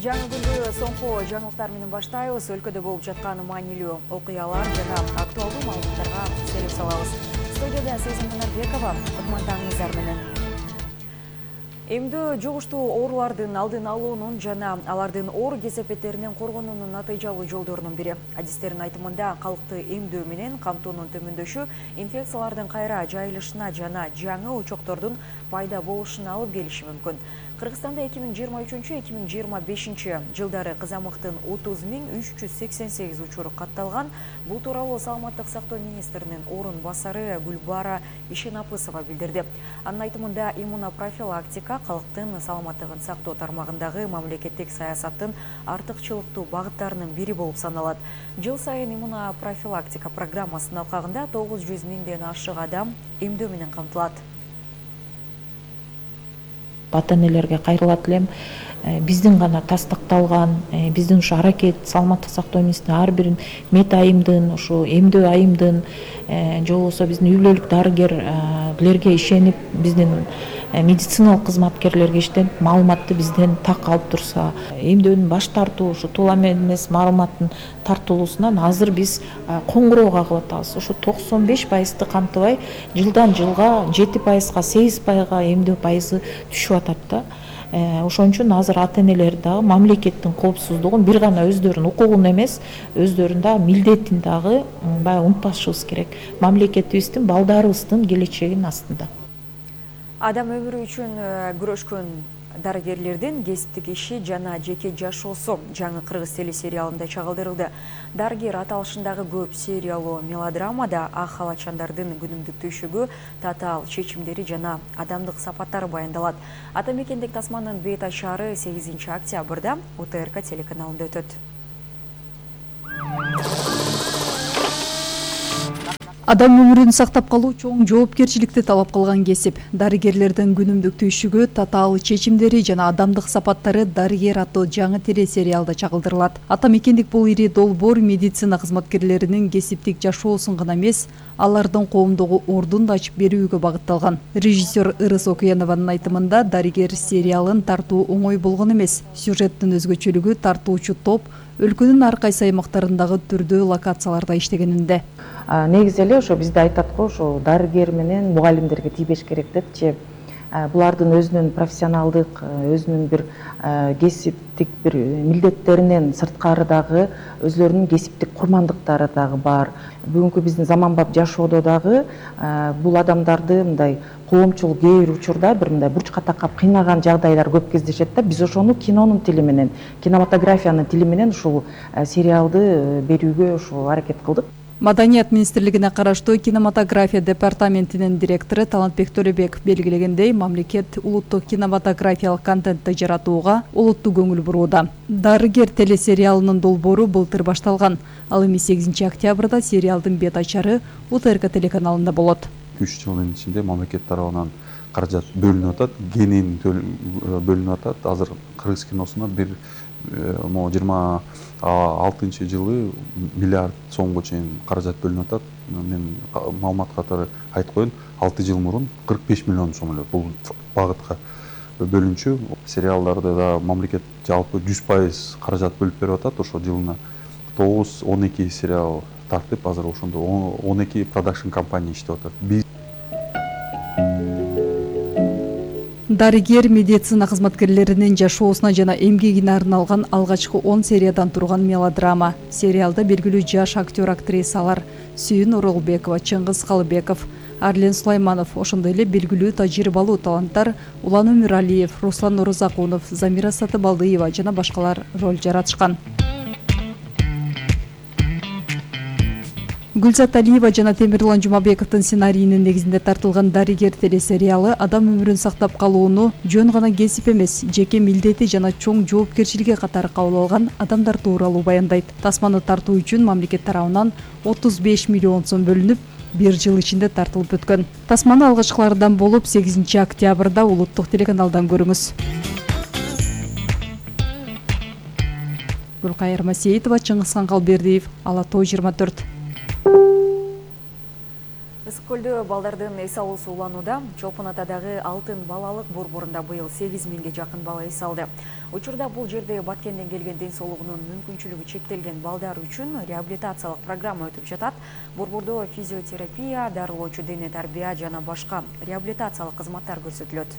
Жаңы күндү соңку жаңылыктар менен баштайбыз. Өлкөдө болуп жаткан маанилүү окуялар жана актуалдуу маалыматтарга селек салабыз. Студияда Сезим Манарбекова, кутмандаңыздар менен. Эмдөө жугуштуу оорулардын алдын алуунун жана алардын оор кесепеттеринен коргонуунун натыйжалуу жолдорунун бири. Адистердин айтымында калкты эмдөө менен камтуунун төмөндөшү инфекциялардын кайра жайылышына жана жаңы очоктордун пайда болушуна алып келиши мүмкүн. Кыргызстанда 2023-2025 жылдары кызамыктын 30.388 учуру катталган. Бул тууралуу Саламаттык сактоо министринин орун басары Гүлбара Ишенапысова билдирди. Анын айтымында иммунопрофилактика калктын саламаттыгын сактоо тармагындагы мамлекеттик саясаттын артыкчылыктуу багыттарынын бири болуп саналат. Жыл сайын иммунопрофилактика программасынын алкагында 900 миңден ашык адам эмдөө менен камтылат. Ата-энелерге кайрылат элем. Биздин гана тастыкталган, биздин ушу аракет саламаттык сактоо министринин ар бир мета айымдын, ушу эмдөө айымдын, же болбосо биздин үй бүлөлүк дарыгерлерге ишенип, биздин медициналык кызматкерлерге иштенип, маалыматты бизден так алып турса, эмдөөдөн баш тартуу, ушу туула эмес маалыматтын тартылуусунан азыр биз коңгуроо кагып атабыз. Ушу 95% камтыбай, жылдан жылга 7%-га, 8%-га эмдөө пайызы түшүп атат да. Ошон үчүн азыр ата-энелер дагы мамлекеттин коопсуздугун бир гана өздөрүнүн укугун эмес, өздөрүнүн дагы милдетин дагы баягы унутпашыбыз керек. Мамлекетибиздин, балдарыбыздын келечегинин астында. Адам өмүрү үчүн күрөшкөн дарыгерлердин кесиптик иши жана жеке жашоосу жаңы кыргыз телесериалында чагылдырылды. Дарыгер аталышындагы көп сериялуу мелодрамада ак халатчандардын күнүмдүк түйшүгү, татаал чечимдери жана адамдык сапаттары баяндалат. Ата мекендик тасманын бет ачары 8 октябрда УТРК телеканалында өтөт. Адам өмүрүн сактап калуу чоң жоопкерчиликти талап кылган кесип. Дарыгерлердин күнүмдүк түйшүгү, татаал чечимдери жана адамдык сапаттары дарыгер аттуу жаңы телесериалда чагылдырылат. Ата мекендик бул ири долбоор медицина кызматкерлеринин кесиптик жашоосун гана эмес, алардын коомдогу ордун да ачып берүүгө багытталган. Режиссер Ырыс Окуянованын айтымында дарыгер сериалын тартуу оңой болгон эмес. Сюжеттин өзгөчөлүгү тартуучу топ өлкөнүн ар кайсы аймактарындагы түрдүү локацияларда иштегенинде. Негизи эле ошо бизде айтат го, ошо дарыгер менен мугалимдерге тийбеш керек депчи. Булардын өзүнүн профессионалдык, өзүнүн бир кесиптик бир милдеттеринен сырткары дагы өзлөрүнүн кесиптик курмандыктары дагы бар. Бүгүнкү биздин заманбап жашоодо дагы бул адамдарды мындай коомчул кээ бир учурда бир мындай бурчка такап кыйнаган жагдайлар көп кездешет да. Биз ошону кинонун тили менен, кинематографиянын тили менен ушул сериалды берүүгө ушул аракет кылдык. Маданият министрлигине караштуу кинематография департаментинин директору Талантбек Төлөбеков белгилегендей, мамлекет улуттук кинематографиялык контентти жаратууга олуттуу көңүл бурууда. Дарыгер телесериалынын долбоору былтыр башталган. Ал эми 8 октябрда сериалдын бет ачары УТРК телеканалында болот. 3 жылдын ичинде мамлекет тарабынан каражат бөлүнүп атат, кенен бөлүнүп атат. Азыр кыргыз киносуна бир 26 жылы миллиард сомго чейин каражат бөлүнүп атат. Мен маалымат катары айтып коеюн, 6 жыл мурун 45 миллион сом эле бул багытка бөлүнчү. Сериалдарды да мамлекет жалпы 100% каражат бөлүп берип атат. Ошо жылына 9-12 сериал тартып, азыр ошондо 12 продакшн компания иштеп атат. Дарыгер медицина кызматкерлеринин жашоосуна жана эмгегине арналган алгачкы 10 сериядан турган мелодрама. Сериалда белгилүү жаш актер-актрисалар Сүйүн Оролбекова, Чыңгыз Калыбеков, Арлен Сулайманов, ошондой эле белгилүү тажрыйбалуу таланттар Улан Өмүралиев, Руслан Орозакунов, Замира Сатыбалдыева жана башкалар роль жаратышкан. Гүлзат Алиева жана Темирлан Жумабековдун сценарийинин негизинде тартылган дарыгер телесериалы адам өмүрүн сактап калууну жөн гана кесип эмес, жеке милдети жана чоң жоопкерчилиги катары кабыл алган адамдар тууралуу баяндайт. Тасманы тартуу үчүн мамлекет тарабынан 35 миллион сом бөлүнүп, бир жыл ичинде тартылып өткөн. Тасманы алгачкылардан болуп 8 октябрда улуттук телеканалдан көрүңүз. Гүлкайыр Масеитова, Чыңгызхан Калбердиев, Ала Тоо 24. көлдө балдардын эс алуусу уланууда. Чолпон Атадагы Алтын балалык борборунда быйыл 8.000ге жакын бала эс алды. Учурда бул жерде Баткенден келген ден соолугунун мүмкүнчүлүгү чектелген балдар үчүн реабилитациялык программа өтүп жатат. Борбордо физиотерапия, дарылоочу дене тарбия жана башка реабилитациялык кызматтар көрсөтүлөт.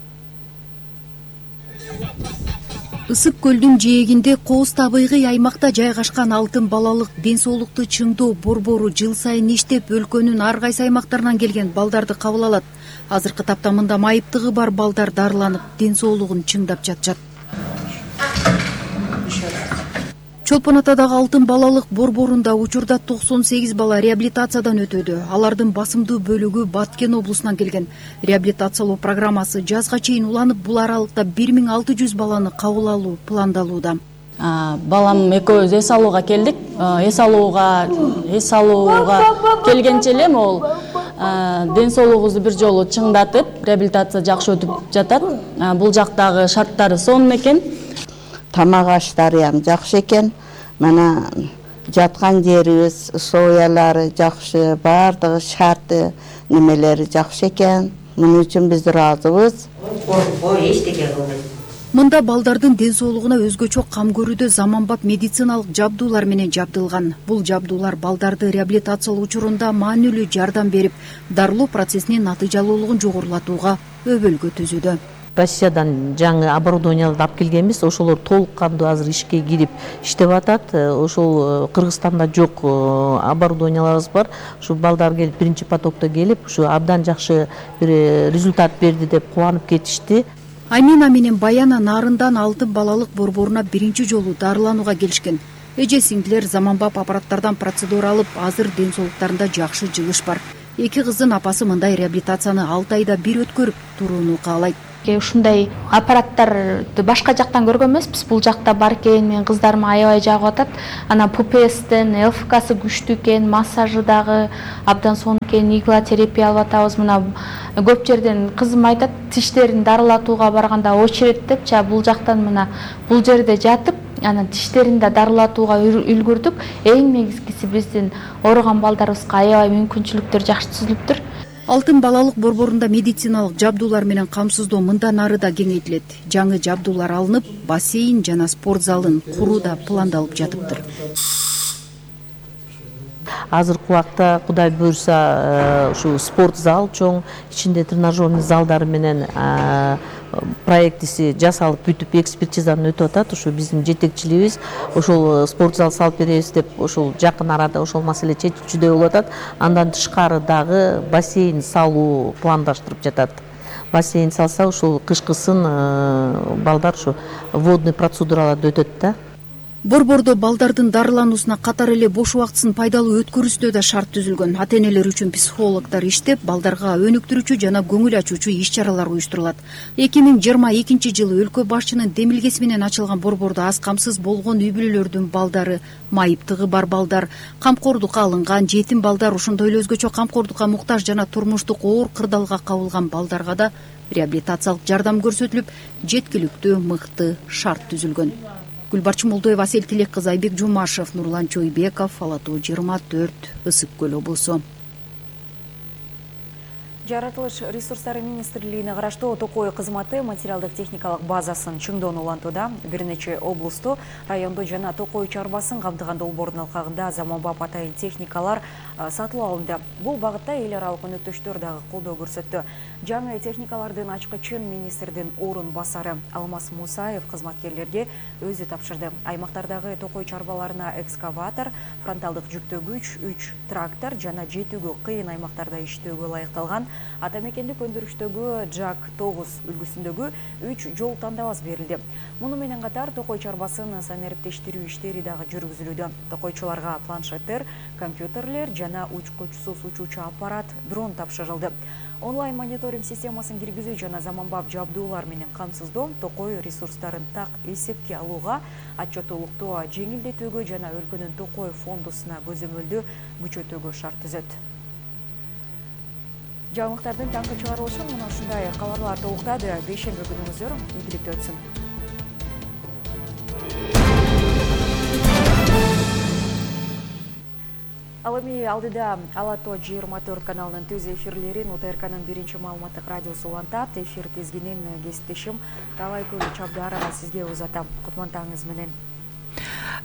Ысык көлдүн жээгинде Кооз табигый аймакта жайгашкан Алтын балалык ден соолукту чыңдоо борбору жыл сайын иштеп, өлкөнүн ар кайсы аймактарынан келген балдарды кабыл алат. Азыркы тапта мында майыптыгы бар балдар дарыланып, ден соолугун чыңдап жатышат. Чолпон Атадагы Алтын балалык борборунда учурда 98 бала реабилитациядан өтөдү. Алардын басымдуу бөлүгү Баткен облусунан келген. Реабилитациялоо программасы жазга чейин уланып, бул аралыкта 1600 баланы кабыл алуу пландалууда. Балам экөөбүз эс алууга келдик. Эс алууга келгенче эле могул ден соолугубузду бир жолу чыңдатып, реабилитация жакшы өтүп жатат. Бул жактагы шарттары сонун экен. Тамак аштары ham жакшы экен. Мана жаткан жерибиз, условиялары жакшы, баардыгы шарты, немелери жакшы экен. Муну үчүн биз ыраазыбыз. Мында балдардын ден соолугуна өзгөчө кам көрүүдө заманбап медициналык жабдуулар менен жабдылган. Бул жабдуулар балдарды реабилитациялоо учурунда маанилүү жардам берип, дарылоо процессинин натыйжалуулугун жогорулатууга өбөлгө түзүүдө. Россиядан жаңы оборудованияларды алып келгенбиз. Ошолор толук кандуу азыр ишке кирип иштеп атат. Ошол Кыргызстанда жок оборудованияларыбыз бар. Ушу балдар келип, биринчи потокто келип, ушу абдан жакшы бир результат берди деп кубанып кетишти. Амина менен Баяна Нарындан Алтын балалык борборуна биринчи жолу дарыланууга келишкен. Эже сиңдилер заманбап аппараттардан процедура алып, азыр ден соолуктарында жакшы жылыш бар. Эки кыздын апасы мындай реабилитацияны 6 айда бир өткөрүп турууну каалайт. Ушундай аппараттарды башка жактан көргөн эмеспиз. Бул жакта бар экен, менин кыздарыма аябай жагып атат. Анан ППСтен ЛФКсы күчтүү экен, массажы дагы абдан сонун экен, иглотерапия алып атабыз. Мына көп жерден кызым айтат, тиштерин дарылатууга барганда очередь деп, бул жактан мына бул жерде жатып, анан тиштерин да дарылатууга үлгүрдүк. Эң негизгиси биздин ооруган балдарыбызга аябай мүмкүнчүлүктөр жакшы түзүлүптүр. Алтын балалык борборунда медициналык жабдуулар менен камсыздоо мындан ары да кеңейтилет. Жаңы жабдуулар алынып, бассейн жана спорт залын куруу да пландалып жатыптыр. Азыркы убакта Кудай буйрса ушу спорт зал чоң, ичинде тренажерный залдары менен проектиси жасалып бүтүп экспертизадан өтүп атат. Ушу биздин жетекчилигибиз ошол спорт зал салып беребиз деп ошол жакын арада ошол маселе чечүүчүдөй болуп атат. Андан тышкары дагы бассейн салуу пландаштырып жатат. Бассейн салса ушул кышкысын балдар ушу водный процедураларды өтөт да. Борбордо балдардын дарылануусуна катар эле бош убактысын пайдалуу өткөрүүсүнө да шарт түзүлгөн. Ата-энелер үчүн психологдор иштеп, балдарга өнүктүрүүчү жана көңүл ачуучу иш-чаралар уюштурулат. 2022 жылы өлкө башчынын демилгеси менен ачылган борбордо аз камсыз болгон үй-бүлөлөрдүн балдары, майыптыгы бар балдар, камкордукка алынган жетим балдар, ошондой эле өзгөчө камкордукка муктаж жана турмуштук оор кырдаалга кабылган балдарга да реабилитациялык жардам көрсөтүлүп, жеткиликтүү мыкты шарт түзүлгөн. Гүлбарчын Молдоева, Асель Тилек кызы, Айбек Жумашев, Нурлан Чойбеков, Ала Тоо 24, Ысык көл облусу. Жаратылыш ресурстары министрлигине караштуу Токой кызматы материалдык техникалык базасын чыңдоону улантууда. Бир нече облусту, райондо жана Токой чарбасын камтыган долбоордун алкагында заманбап атайын техникалар сатылып алынды. Бул багытта эл аралык өнөктөштөр дагы колдоо көрсөттү. Жаңы техникалардын ачкычын министрдин орун басары Алмаз Мусаев кызматкерлерге өзү тапшырды. Аймактардагы Токой чарбаларына экскаватор, фронталдык жүктөгүч, 3 трактор жана жетүүгө кыйын аймактарда иштөөгө ылайыкталган атамекендик өндүрүштөгү Жак 9 үлгүсүндөгү 3 жол тандабас берилди. Муну менен катар Токой чарбасын санариптештирүү иштери дагы жүргүзүлүүдө. Токойчуларга планшеттер, компьютерлер жана учкучсуз учуучу аппарат, дрон тапшырылды. Онлайн мониторинг системасын киргизүү жана заманбап жабдуулар менен камсыздоо Токой ресурстарын так эсепке алууга, отчеттуулукту жеңилдетүүгө жана өлкөнүн Токой фондусуна көзөмөлдү күчөтүүгө шарт түзөт. Жаңылыктардын таңкы чыгарылышы мына ушундай кабарлар толуктады. Бейшемби күнүңүздөр ийгиликтүү өтсүн. Ал эми алдыда Ала Тоо 24 каналынын түз эфирлерин УТРКнын биринчи маалыматтык радиосу улантат. Эфир тизгинин кесиптешим Талайгүл Чабдарова сизге узатам. Кутмантаңыз менен.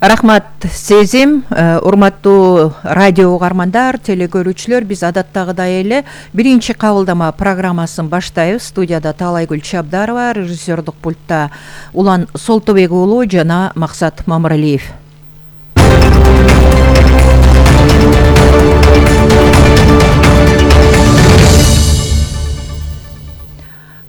Рахмат сезим, урматтуу радио угармандар, телекөрүүчүлөр, биз адаттагыдай эле биринчи кабылдама программасын баштайбыз. Студияда Талайгүл Чабдарова, режиссердук пультта Улан Солтобек уулу жана Максат Мамыралиев.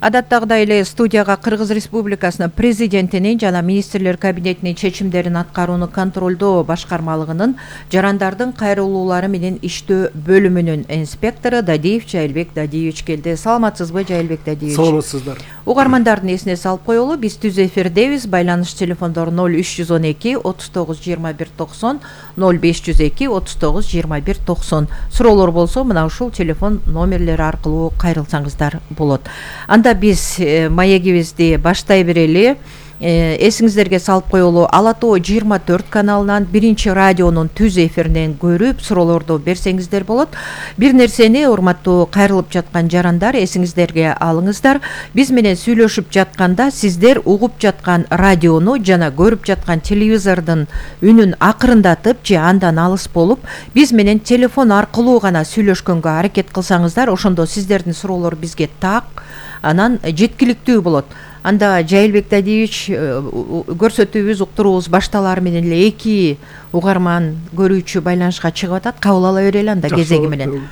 Адаттагыдай эле студияга Кыргыз Республикасынын президентинин жана министрлер кабинетинин чечимдерин аткарууну контролдоо башкармалыгынын жарандардын кайрылуулары менен иштөө бөлүмүнүн инспектору Дадиев Жайылбек Дадиевич келди. Саламатсызбы, Жайылбек Дадиевич? Саламатсыздар. Угармандардын эсине салып коелу, биз түз эфирдебиз. Байланыш телефондору 0312 39 21 90, 0502 39 21 90. Суроолор болсо мына ушул телефон номерлери аркылуу кайрылсаңыздар болот. Анда биз маегибизди баштай берели. Эсиңиздерге салып коелу, Ала Тоо 24 каналынан биринчи радионун түз эфиринен көрүп суроолорду берсеңиздер болот. Бир нерсени, урматтуу кайрылып жаткан жарандар, эсиңиздерге алыңыздар. Биз менен сүйлөшүп жатканда сиздер угуп жаткан радиону жана көрүп жаткан телевизордун үнүн акырындатып же андан алыс болуп, биз менен телефон аркылуу гана сүйлөшкөнгө аракет кылсаңыздар, ошондо сиздердин суроолор бизге так, анан жеткиликтүү болот. Анда Жайылбек Дадиевич, көрсөтүүбүз, уктуруубуз башталары менен эле эки угарман көрүүчү байланышка чыгып атат. Кабыл ала берели анда кезеги менен.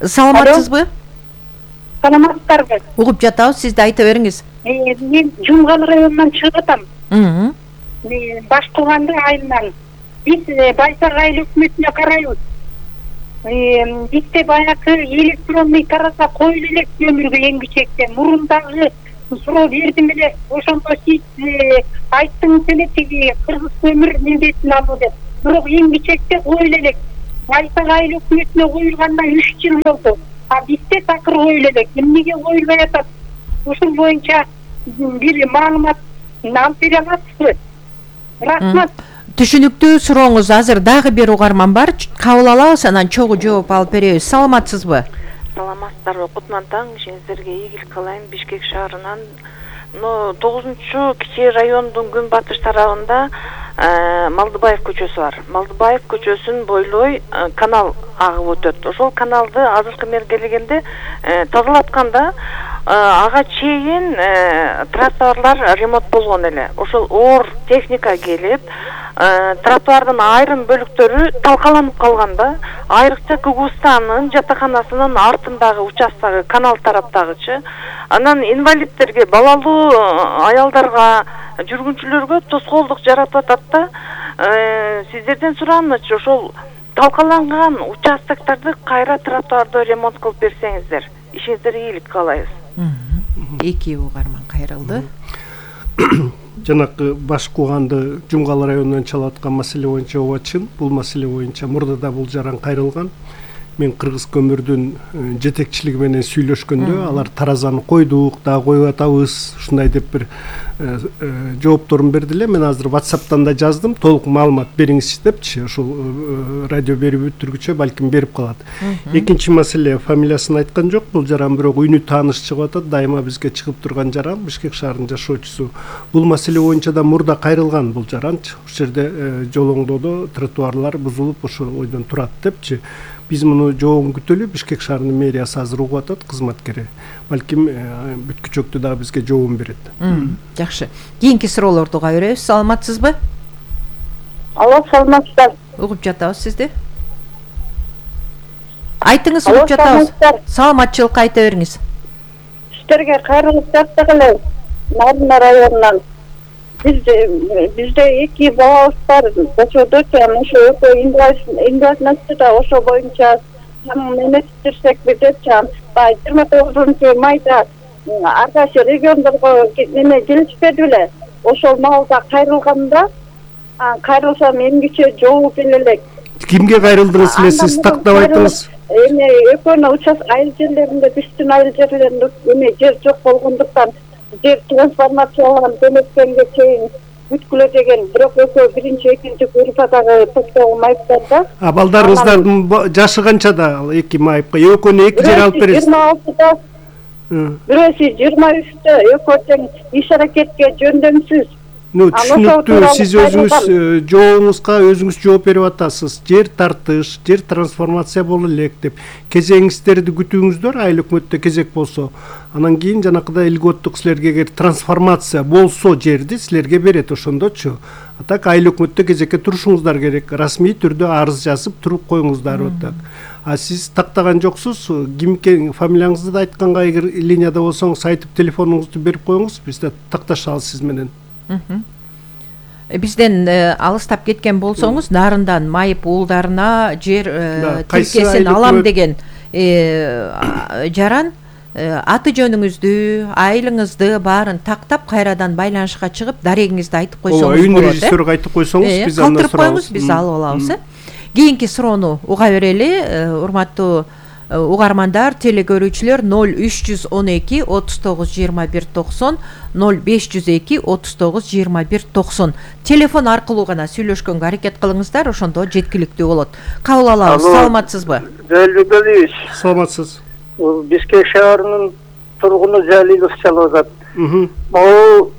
Саламатсызбы? Саламатсыздарбы? Угуп жатабыз, сиз да айта бериңиз. Мен Жумгал районунан чыгып атам. Баш тууганды айылынан. Биз Байсак айыл өкмөтүнө карайбыз. Бизде баягы электронный тараза коюлу элек өмүргө эң кичекте. Мурун суроо бердим эле, ошондо сиз айттыңыз эле тиги кыргыз көмүр милдетин алуу деп. Бирок эң кичекте коюлу элек. Байсак айыл өкмөтүнө коюлганына 3 жыл болду. А бизде такыр коюлу элек. Эмнеге коюлбай атат? Ушул боюнча бир маалымат алып бере аласызбы? Рахмат. Түшүнүктүү сурооңуз. Азыр дагы бир угарман бар. Кабыл алабыз, анан чогуу жооп алып беребиз. Саламатсызбы? Саламатсыздарбы, кутмантаң, ишиңиздерге ийгилик каалайм. Бишкек шаарынан 9-чу кичи райондун күнбатыш тарабында Малдыбаев көчөсү бар. Малдыбаев көчөсүн бойлой канал агып өтөт. Ошол каналды азыркы мезгилде тазалатканда ага чейин тротуарлар ремонт болгон эле. Ошол оор техника келип, тротуардын айрым бөлүктөрү талкаланып калганда, айрыкча Кыгызстандын жатаканасынын артындагы участтагы канал тараптагычы, анан инвалидтерге, балалуу аялдарга, жүргүнчүлөргө тоскоолдук жаратып атат да. Сиздерден сураамычы, ошол талкаланган участоктарды кайра тротуарды ремонт кылып берсеңиздер, ишиңиздерге ийгилик каалайбыз. Эки угарман кайрылды. Жанакы баш кууганды Жумгал районунан чалып аткан маселе боюнча ооба чын. Бул маселе боюнча мурда да бул жаран кайрылган. Мен Кыргыз көмүрдүн жетекчилиги менен сүйлөшкөндө алар таразаны койдук, дагы коюп атабыз, ушундай деп бир жоопторун берди эле. Мен азыр WhatsApp'тан да жаздым, толук маалымат бериңизчи депчи, ушул радио берип өтүргүчө балким берип калат. Экинчи маселе, фамилиясын айткан жок, бул жаран бирок үнү тааныш чыгып атат, дайыма бизге чыгып турган жаран, Бишкек шаарынын жашоочусу. Бул маселе боюнча да мурда кайрылган бул жаранчы. Ушул жерде жолоңдоодо тротуарлар бузулуп, ошол ойдон турат депчи. Биз муну жообун күтөлү, Бишкек шаарынын мэриясы азыр угуп атат, кызматкери. Балким бүткүчөктү дагы бизге жообун берет. Жакшы. Кийинки суроолорду уга беребиз. Саламатсызбы? Алло, саламатсыздар. Угуп жатабыз сизди. Айтыңыз, угуп жатабыз. Саламатчылыкка айта бериңиз. Сиздерге кайрылып жаттык эле. Нарына районунан. Бизде эки балабыз бар. Ошодо ошо инвалидностьта ошо боюнча эместирсек депчи. 29 майда ар кайсы региондорго келишпеди беле. Ошол маалда кайрылганда, кайрылсам эмгиче жооп элек. Кимге кайрылдыңыз эле, сиз тактап айтыңыз? Эми экөөнө участок айыл жерлеринде, биздин айыл жерлеринде жер жок болгондуктан жер трансформацияланган демекенге чейин бүткүлө деген, бирок экөө биринчи, экинчи группадагы топтогу майыптар да. Балдарыңыздардын жашы канчада ал эки майыпка? Экөөнү эки жер алып бересиз? 26-да. Бирөөсү 23-тө, экөө тең иш аракетке жөндөмсүз. Түшүнүктүү, сиз өзүңүз жообуңузга өзүңүз жооп берип атасыз. Жер тартыш, жер трансформация боло элек деп. Кезеңиңиздерди күтүүңүздөр, айыл өкмөттө кезек болсо. Анан кийин жанакыдай илготтук силерге эгер трансформация болсо жерди силерге берет ошондочу. А так айыл өкмөттө кезекке турушуңуздар керек. Расмий түрдө арыз жазып туруп коюңуздар атак. А сиз тактаган жоксуз, кимге фамилияңызды да айтканга, эгер линияда болсоңуз айтып телефонуңузду берип коюңуз, биз да такташабыз сиз менен. Бизден алыстап кеткен болсоңуз, нарындан майып уулдарына жер тилкесин алам деген жаран аты жөнүңүздү, айылыңызды баарын тактап кайрадан байланышка чыгып, дарегиңизди айтып койсоңуз болот. Үйүн режиссерге айтып койсоңуз, биз андан калтырып коюңуз, биз алып алабыз. Кийинки суроону уга берели, урматтуу угармандар, телекөрүүчүлөр 0312 39 21 90 0502 39 21 90 телефон аркылуу гана сүйлөшкөнгө аракет кылыңыздар, ошондо жеткиликтүү болот. Кабыл алабыз. Саламатсызбы? Жалилбек Алиевич. Саламатсыз. Бишкек шаарынын тургуну Жалилов чалып атат. Могу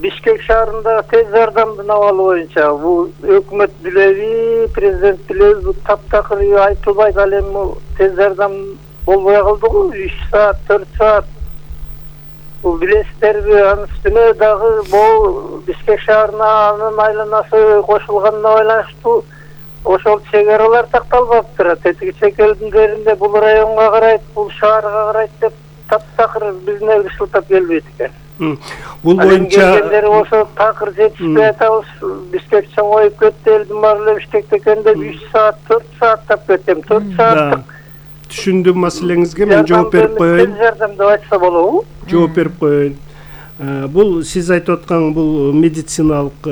Бишкек шаарында тез жардамдын абалы боюнча бул өкмөт билеби, президент билеби, бул таптакыр айтылбайт. Ал эми тез жардам болбой калды го, 3 саат, 4 саат. Бул билесиздерби, анын үстүнө дагы бул Бишкек шаарына анын айланасы кошулганына байланыштуу ошол чек-аралар такталбаптыр. Тетиги чек элдеринде бул районго карайт, бул шаарга карайт деп таптакыр бизине ышылтап келбейт экен. Бул боюнча болсо такыр жетишпей атабыз. Бишкек чоңоюп кетти, элдин баары эле Бишкекте экен деп 3 саат, 4 сааттап кетем. 4 сааттык. Түшүндүм маселеңизге, мен жооп берип коеюн. Жардам деп айтса болобу? Жооп берип коеюн. Бул сиз айтып аткан бул медициналык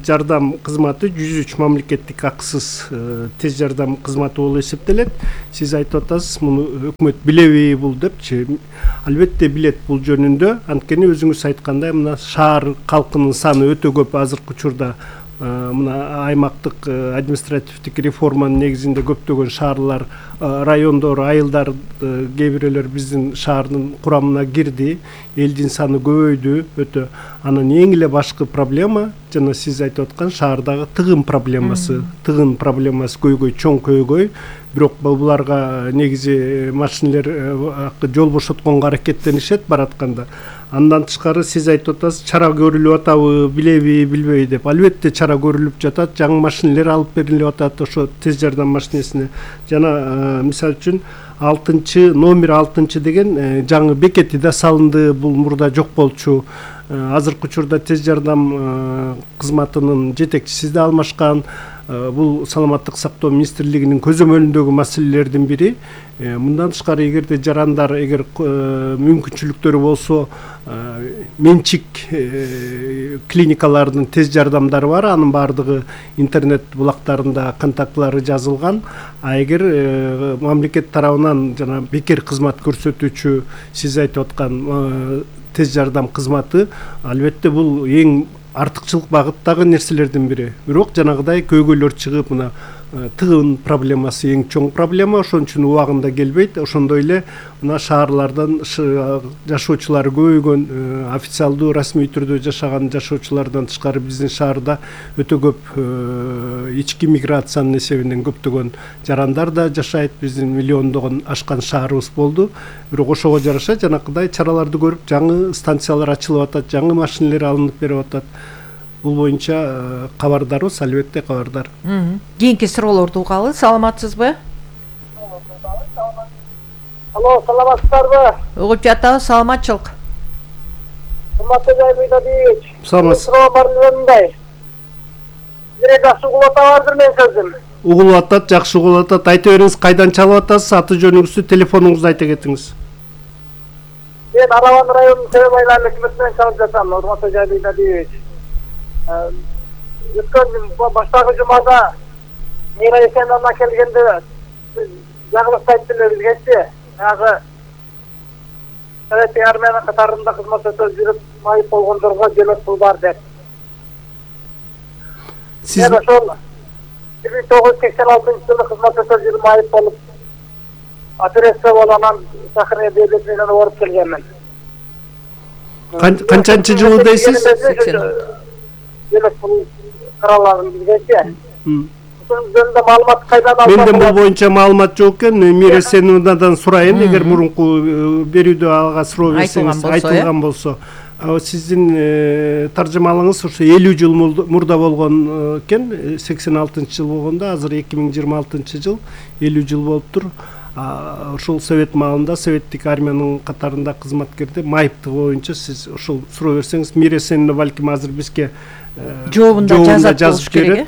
жардам кызматы 103 мамлекеттик акысыз тез жардам кызматы болуп эсептелет. Сиз айтып атасыз, муну өкмөт билеби бул депчи. Албетте билет бул жөнүндө. Анткени өзүңүз айткандай, мына шаар калкынын саны өтө көп азыркы учурда. Мына аймактык административдик реформанын негизинде көптөгөн шаарлар, райондор, айылдар кээ бирөөлөр биздин шаардын курамына кирди. Элдин саны көбөйдү өтө. Анан эң эле башкы проблема жана сиз айтып аткан шаардагы тыгын проблемасы. Тыгын проблемасы көйгөй, чоң көйгөй. Бирок буларга негизи машинелер жол бошотконго аракеттенишет баратканда. Андан тышкары сиз айтып атасыз, чара көрүлүп атабы, билеби, билбейби деп. Албетте чара көрүлүп жатат, жаңы машинелер алып берилип атат ошо тез жардам машинесине. Жана мисалы үчүн номер 6 деген жаңы бекети да салынды, бул мурда жок болчу. Азыркы учурда тез жардам кызматынын жетекчиси да алмашкан. Бул саламаттык сактоо министрлигинин көзөмөлүндөгү маселелердин бири. Мындан тышкары эгерде жарандар мүмкүнчүлүктөрү болсо, менчик клиникалардын тез жардамдары бар, анын баардыгы интернет булактарында контактлары жазылган. А эгер мамлекет тарабынан жана бекер кызмат көрсөтүүчү сиз айтып аткан тез жардам кызматы, албетте бул эң артыкчылык багыттагы нерселердин бири. Бирок жанагыдай көйгөйлөр чыгып, мына тыгын проблемасы эң чоң проблема, ошон үчүн убагында келбейт. Ошондой эле мына шаарлардан жашоочулар көбөйгөн, официалдуу расмий түрдө жашаган жашоочулардан тышкары биздин шаарда өтө көп ички миграциянын эсебинен көптөгөн жарандар да жашайт. Биздин миллиондогон ашкан шаарыбыз болду. Бирок ошого жараша жанакыдай чараларды көрүп, жаңы станциялар ачылып атат, жаңы машинелер алынып берип атат. Бул боюнча кабардарбыз, албетте кабардар. Кийинки суроолорду угалы. Саламатсызбы? Алло, саламатсыздарбы? Угуп жатабыз, саламатчылык. Урматтуу Жалилбек Алиевич. Саламатсыз. Суроо барымдай. Жакшы угулуп атабардыр мен сөзүм. Угулуп атат, жакшы угулуп атат. Айта бериңиз, кайдан чалып атасыз, аты жөнүңүздү, телефонуңузду айта кетиңиз. Мен Арабан районунун Себеп айлар өкмөтүнөн чалып жатам, урматтуу Жалилбек Алиевич. Өткөн баштагы жумада Мира Есеновна келгенде жагылыш айттылар бизгечи. Ягы Совет армиянын катарында кызмат өтөп жүрүп майып болгондорго жөнөтүү бар деп. Сиз мен ошол 1986 жылы кызмат өтөп айып болуп операция болуп анан Сахария devlet менен барып келгенмин. канчанчы жылы дейсиз? Devlet бул каралган бизгече. Ошонун жөнүндө маалымат кайдан алдым? Менден бул боюнча маалымат жок экен. Мира Сеновнадан сурайын, эгер мурунку берүүдө ага суроо берсеңиз айтылган болсо. Сиздин таржымалыңыз ошо 50 жыл мурда болгон экен, 86-жыл болгондо, азыр 2026-жыл 50 жыл болуптур. Ошол совет маалында советтик армиянын катарында кызматкерде майыптыгы боюнча сиз ошол суроо берсеңиз, Мира Сеновна балким азыр бизге жообунда жазып керек.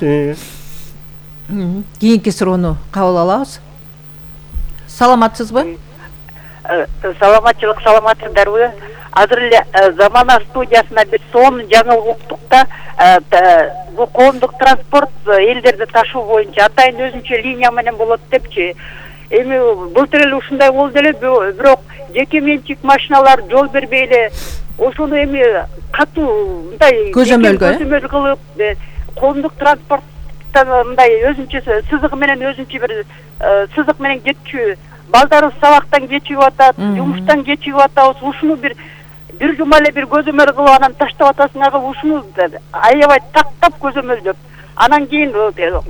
Кийинки суроону кабыл алабыз. Саламатсызбы? Саламатчылык, саламатсыздарбы? Азыр эле Замана студиясына бир сонун жаңылык уктук да, бул коомдук транспорт элдерди ташуу боюнча атайын өзүнчө линия менен болот депчи. Эми былтыр эле ушундай болду эле, бирок жеке менчик машиналар жол бербей эле ошону эми катуу мындай көзөмөл кылып, коомдук транспорттан мындай өзүнчө сызыгы менен өзүнчө бир сызык менен кетчү, балдарыбыз сабактан кечигип атат, жумуштан кечигип атабыз, ушуну бир жума эле бир көзөмөл кылып анан таштап атасыңар, ушуну аябай тактап көзөмөлдөп, анан кийин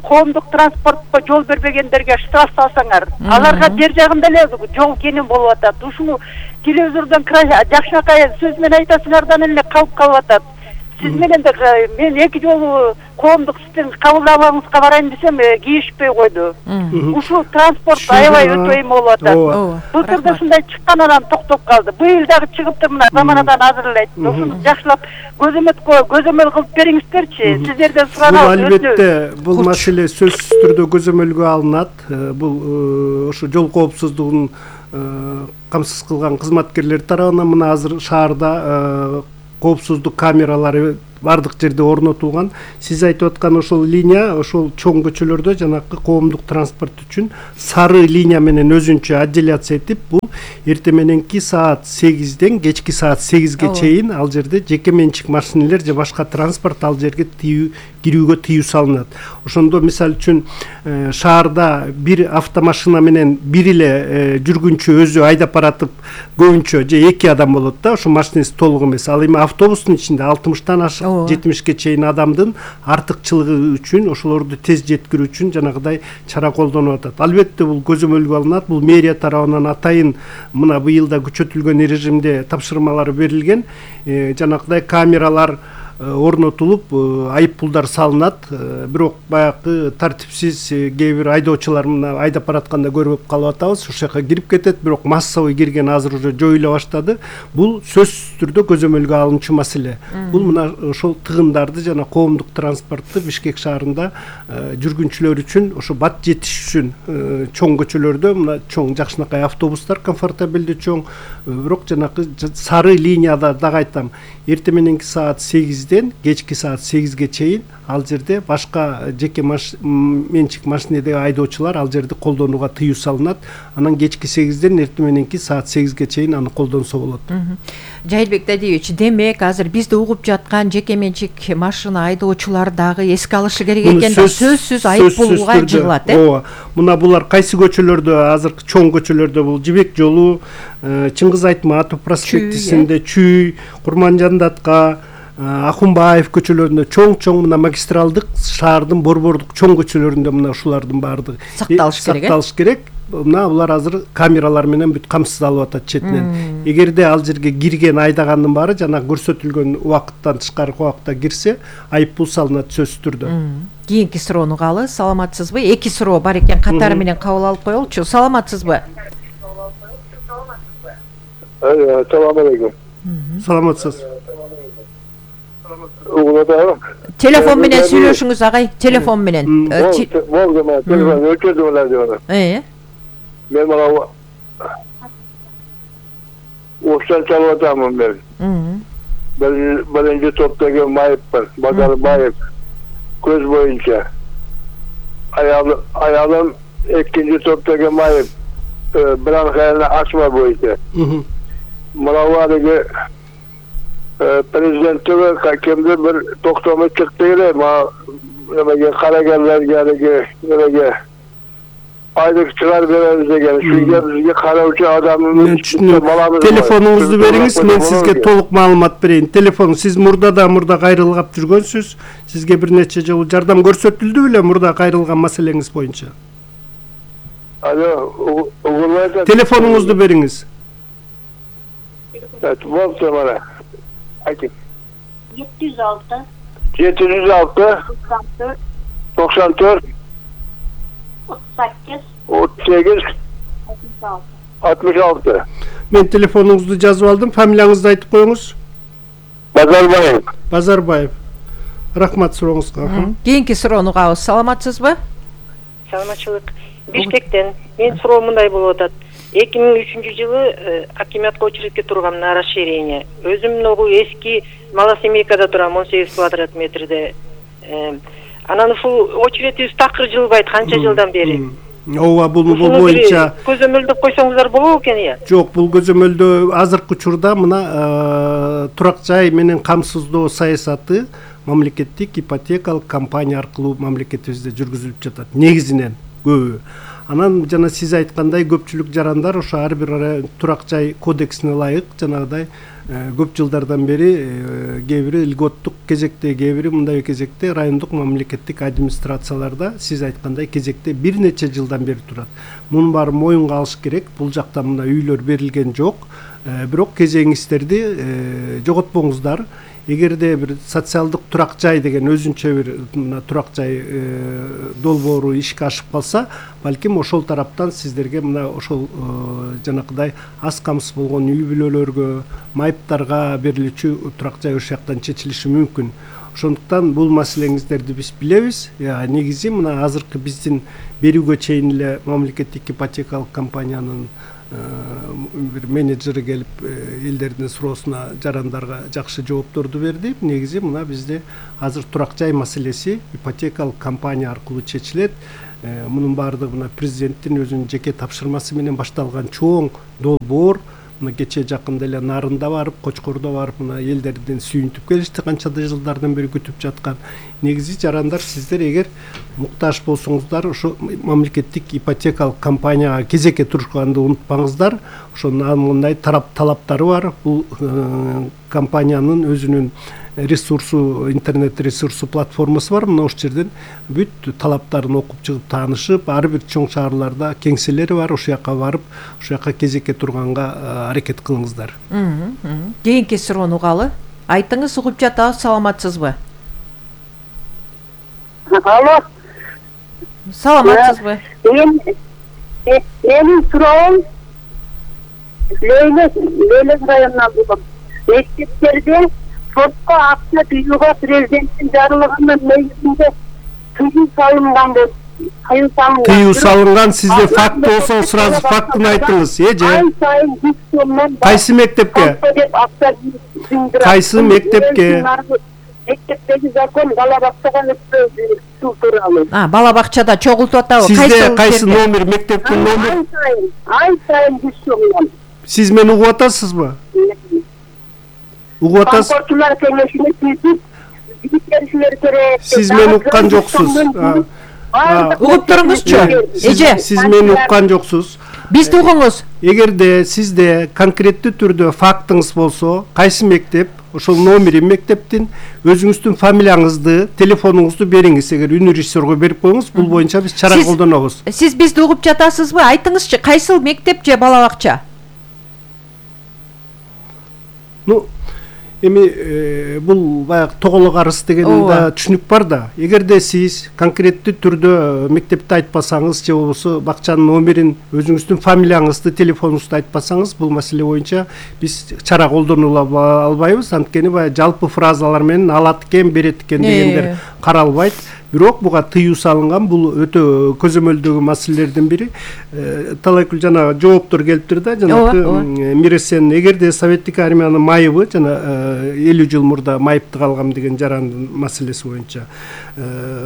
коомдук транспортко жол бербегендерге штраф салсаңар, аларга жер жагында эле жол кенен болуп атат. Ушуну телевизордон жакшынакай сөз менен айтасыңардан эле калып атат. Сиз менен да мен 2 жолу коомдук сиздин кабылдабаңызга барайын десем, кийишпей койду. Ушул транспорт аябай өтө эме болуп атат. Былтыр да ушундай чыккан, анан токтоп калды. Быйыл дагы чыгыптыр, мына Заманадан азыр эле айтты. Ушуну жакшылап көзөмөл кылып бериңиздерчи. Сиздерден суранабыз. Албетте, бул маселе сөзсүз түрдө көзөмөлгө алынат. Бул ошо жол коопсуздугун камсыз кылган кызматкерлер тарабынан мына азыр шаарда коопсуздук камералары бардык жерде орнотулган. Сиз айтып аткан ошол линия, ошол чоң көчөлөрдө жанакы коомдук транспорт үчүн сары линия менен өзүнчө отделяция этип, бул эртең мененки саат 8ден кечки саат 8ге чейин ал жерде жеке менчик машинелер же башка транспорт ал жерге кирүүгө тыюу салынат. Ошондо мисалы үчүн шаарда бир автомашина менен бир эле жүргүнчү өзү айдап баратып, көбүнчө же 2 адам болот да, ошо машинеси толук эмес. Ал эми автобустун ичинде 60тан ашык 70ке чейин адамдын артыкчылыгы үчүн, ошолорду тез жеткирүү үчүн жанагыдай чара колдонуп атат. Албетте бул көзөмөлгө алынат. Бул мэрия тарабынан атайын мына быйылда күчөтүлгөн режимде тапшырмалар берилген. Жанагыдай камералар орнотулуп, айып пулдар салынат. Бирок баягы тартипсиз кээ бир айдоочулар мына айдап баратканда көрүп калып атабыз, ошол жака кирип кетет, бирок массовый кирген азыр уже жоюла баштады. Бул сөзсүз түрдө көзөмөлгө алынчу маселе. Бул мына ошол тыгындарды жана коомдук транспортту Бишкек шаарында жүргүнчүлөр үчүн, ошо бат жетиш үчүн чоң көчөлөрдө мына чоң жакшынакай автобустар комфортабелдүү чоң, бирок жанакы сары линияда дагы айтам, эртең мененки саат 8ден кечки саат 8ге чейин ал жерде башка жеке менчик машинедеги айдоочулар ал жерди колдонууга тыюу салынат. Анан кечки 8ден эртең мененки саат 8ге чейин аны колдонсо болот. Жайылбек Дадиевич, демек азыр бизди угуп жаткан жеке менчик машина айдоочулар дагы эске алышы керек экен да, сөзсүз айып пулга жыгылат, ооба. Мына булар кайсы көчөлөрдө, азыркы чоң көчөлөрдө, бул Жибек жолу, Чыңгыз Айтматов проспектисинде, Чүй, Курманжан Датка, Ахунбаев көчөлөрүндө чоң мына магистралдык шаардын борбордук чоң көчөлөрүндө мына ушулардын баардыгы сакталыш керек. Мына булар азыр камералар менен бүт камсыздалып атат четинен. Эгерде ал жерге кирген айдагандын баары жана көрсөтүлгөн убакыттан тышкаркы убакытта кирсе, айып пул салынат сөзсүз түрдө. Кийинки суроону калы, саламатсызбы? 2 суроо бар экен, катары менен кабыл алып коелучу. Саламатсызбы? Салам алейкум. Саламатсыз. Телефон менен сүйлөшүңүз агай, телефон менен. Болду, мен телефон өчөдүм эле. Мен мына оштан чалып атамын мен. Биринчи топтогу майыппын, Базарбаев, көз боюнча. Аялым экинчи топтогу майып, Бранхайна ачма боюнча. Мына президенттігі кемді бір тоқтамы чықты еле, немеге карагерлерге немеге айлык чыгарып беребиз деген сизге бизге кароочу адамыбыз. Мен түшүнөм. Телефонуңузду бериңиз, мен сизге толук маалымат берейин. Телефон сиз мурда кайрылгап жүргөнсүз. Сизге бир нече жолу жардам көрсөтүлдү беле мурда кайрылган маселеңиз боюнча? Алло, угулайт. Телефонуңузду бериңиз. Болду мана. Айтың. 706 94 38 66. Мен телефонуңузду жазып алдым. Фамилияңызды айтып коюңуз. Базарбаев. Базарбаев. Рахмат сурооңузга. Кийинки суроону угабыз. Саламатсызбы? Саламатчылык. Бишкектен мен суроо мындай болуп атат. 2003-жылы акиматка очередке тургам на расширение. Өзүм могу эски Малосемейкада турам 18 квадрат метрде. Анан ушул очередибиз такыр жылбайт канча жылдан бери. Ооба, бул боюнча көзөмөлдөп койсоңуздар болобу экен я? Жок, бул көзөмөлдөө азыркы учурда мына турак жай менен камсыздоо саясаты мамлекеттик ипотекалык компания аркылуу мамлекетибизде жүргүзүлүп жатат. Негизинен көбү. Анан жана сиз айткандай көпчүлүк жарандар ошо ар бир турак жай кодексине ылайык жанагыдай көп жылдардан бери кээ бири льготтук кезекте, кээ бири мындай кезекте райондук мамлекеттик администрацияларда сиз айткандай кезекте бир нече жылдан бери турат. Мунун баары моюнга алыш керек. Бул жакта мына үйлөр берилген жок. Бирок кезегиңиздерди жоготпоңуздар. Эгерде бир социалдык турак жай деген өзүнчө бир мына турак жай долбоору ишке ашып калса, балким ошол тараптан сиздерге мына ошол жанакыдай аз камсыз болгон үй бүлөлөргө, майыптарга берилүүчү турак жай ошол жактан чечилиши мүмкүн. Ошондуктан бул маселеңиздерди биз билебиз. Негизи мына азыркы биздин берүүгө чейин эле мамлекеттик ипотекалык компаниянын бир менеджери келип элдердин суроосуна жарандарга жакшы жоопторду берди. Негизи мына бизде азыр турак жай маселеси ипотекалык компания аркылуу чечилет. Мунун баардыгы мына президенттин өзүнүн жеке тапшырмасы менен башталган чоң долбоор. Мына кече жакында эле Нарында барып, Кочкордо барып, мына элдерден сүйүнтүп келишти, канчада жылдардан бери күтүп жаткан. Негизи жарандар, сиздер эгер муктаж болсоңуздар, ошо мамлекеттик ипотекалык компанияга кезекке турушканды унутпаңыздар. Ошонун мындай талаптары бар. Бул компаниянын өзүнүн ресурсу, интернет ресурсу платформасы бар. Мына ошол жерден бүт талаптарын окуп чыгып таанышып, ар бир чоң шаарларда кеңселери бар. Ошол жака барып, ошол жака кезекке турганга аракет кылыңыздар. Кийинки суроону угалы. Айтыңыз, угуп жатабыз. Саламатсызбы? Алло. Саламатсызбы? Менин суроом Лейлек районунан болгон. Мектептерде спортко акча тыюуга президенттин жарлыгынын негизинде тыюу салынган деп тыюу салынган. Сизде факт болсо сразу фактын айтыңыз, же? Ай сайын 100 сомдон кайсы мектепке? Кайсы мектепке? Мектептеги закон бала бакчага өткөрүү тууралуу. Бала бакчада чогултуп атабы? Сизде кайсы номер, мектептин номери? Ай сайын 100 сомдон. Сиз мени угуп атасызбы? Угуп атасыз? Спортчулар кеңешине түзүп, билиштеришилер керек. Сиз мени уккан жоксуз. Угуп туруңузчу. Эже, сиз мени уккан жоксуз. Бизди угуңуз. Эгерде сизде конкреттүү түрдө фактыңыз болсо, кайсы мектеп, ошол номери мектептин, өзүңүздүн фамилияңызды, телефонуңузду бериңиз. Эгер үн режиссерго берип коюңуз, бул боюнча биз чара колдонобуз. Сиз бизди угуп жатасызбы? Айтыңызчы, кайсыл мектеп же бала бакча? Эми бул баягы тоголок арыз деген да түшүнүк бар да. Эгерде сиз конкреттүү түрдө мектепти айтпасаңыз же болбосо бакчанын номерин, өзүңүздүн фамилияңызды, телефонуңузду айтпасаңыз, бул маселе боюнча биз чара колдонула албайбыз. Анткени баягы жалпы фразалар менен алат экен, берет экен дегендер каралбайт. Бирок буга тыюу салынган, бул өтө көзөмөлдөгү маселелердин бири. Талайкүл жана жооптор келиптир да, жанагы Миресен, эгерде советтик армиянын майыбы жана 50 жыл мурда майыптык алгам деген жарандын маселеси боюнча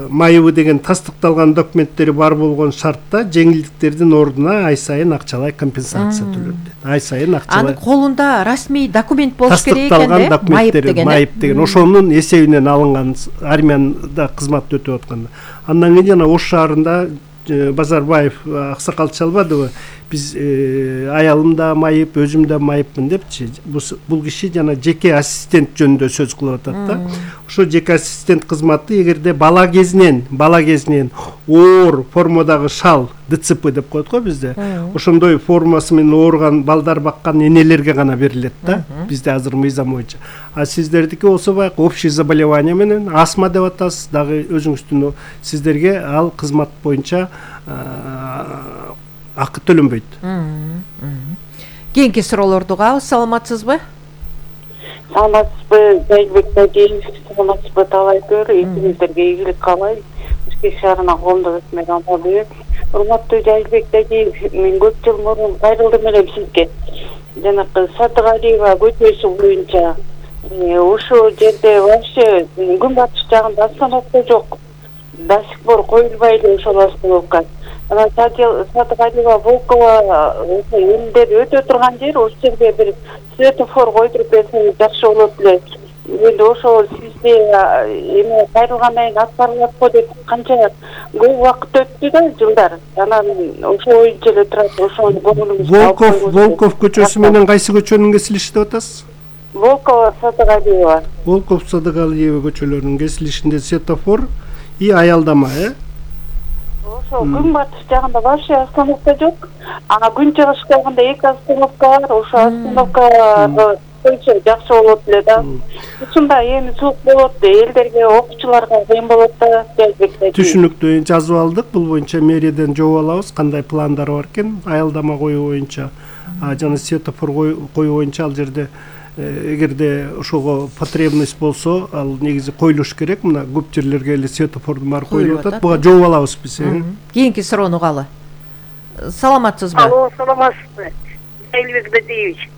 майыбы деген тастыкталган документтери бар болгон шартта жеңилдиктердин ордуна ай сайын акчалай компенсация төлөт. Ай сайын акчалай. Анын колунда расмий документ болуш керек экен да. Тастыкталган документтер, майып деген ошонун эсебинен алынган, армияда кызмат өтөп өтүп атканда. Андан кийин жана Ош шаарында Базарбаев аксакал чалбадыбы, биз аялым да майып, өзүм да майыпмын депчи. Бул киши жана жеке ассистент жөнүндө сөз кылып атат да. Ошо жеке ассистент кызматы эгерде бала кезинен оор формадагы шал, ДЦП деп коет го бизде. Ошондой формасы менен ооруган балдар баккан энелерге гана берилет да, бизде азыр мыйзам боюнча. А сиздердики болсо баягы общий заболевание менен астма деп атасыз, дагы өзүңүздүн сиздерге ал кызмат боюнча акы төлөнбөйт. Кийинки суроолорду угабыз. Саламатсызбы? Саламатсызбы, Жайбек Тадеев. Саламатсызбы, Талайкөр. Эсиңиздерге ийгилик каалайм. Бишкек шаарына коомдук өкмөт амалбек. Урматтуу Жайбек Тадеев, мен көп жыл мурун кайрылдым элем сизге. Жанакы Сатыгалиева көчөсү боюнча ошол жерде вообще күн батыш жагында остановка жок. До сих пор коюлбай эле ошол остановка. Сатыгалиева Волкова элдер өтө турган жер, ошол жерге бир светофор койдуруп берсеңиз жакшы болот эле. Енді ошол сизде эме кайрылгандан кийин аткарылат го деп канча көп убакыт өттү да жылдар. Анан ошол боюнча эле турат, ошону көңүлүңүзгө Волков көчөсү менен кайсы көчөнүн кесилиши деп атасыз? Волкова Сатыгалиева. Волков Сатыгалиева көчөлөрүнүн кесилишинде светофор и аялдама, Ошол күн батыш жагында вообще остановка жок. Күн чыгыш жагында 2 остановка бар. Ошо остановка койсо жакшы болот эле да. Ушунда эми суук болот, элдерге, окуучуларга кыйын болот да. Түшүнүктүү, жазып алдык. Бул боюнча мэрияден жооп алабыз, кандай пландар бар экен аялдама коюу боюнча. Жана светофор коюу боюнча ал жерде эгерде ошого потребность болсо, ал негизи коюлуш керек. Мына көп жерлерге эле светофордун баары коюлуп атат. Буга жооп алабыз биз. Кийинки суроону угалы. Саламатсызбы? Алло, саламатсызбы. Жайбек Тадеевич.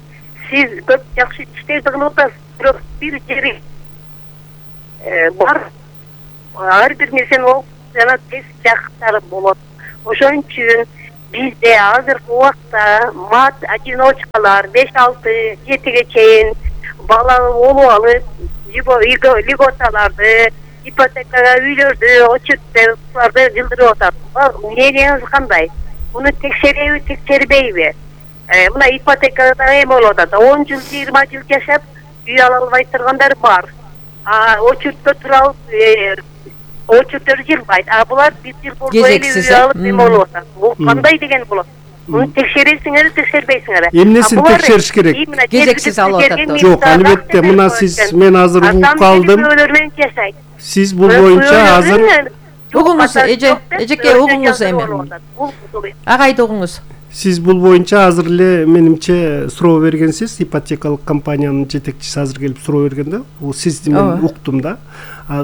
Сиз көп жакшы иштерди кылып атасыз, бирок бир жери бар. Ар бир нерсени окуп жана тез жактары болот. Ошон үчүн бизде азыркы убакта мат одиночкалар 5-6, 7-ге чейин бала болуп алып, льготаларды, ипотекага үйлөрдү, отчеттарды жылдырып атат. Мнениеңиз кандай? Муну текшереби, текшербейби? Мына ипотекада эме болуп атат. 10 жыл, 20 жыл жашап, үй ала албай тургандар бар. Очутта туруп, очуттөр жылбайт. Булар 1 жыл болбой эле үй алып эме болуп атат. Бул кандай деген болот? Муну текшересиңер, текшербейсиңер. Эмнесин текшериш керек? Кезексиз алып атат. Жок, албетте, мына сиз мен азыр угуп калдым. Сиз бул боюнча азыр угуңуз, эжеке угуңуз эми. Агайды угуңуз. Сиз бул боюнча азыр эле менимче суроо бергенсиз, ипотекалык компаниянын жетекчиси азыр келип суроо берген да. Бул сизди мен уктум да.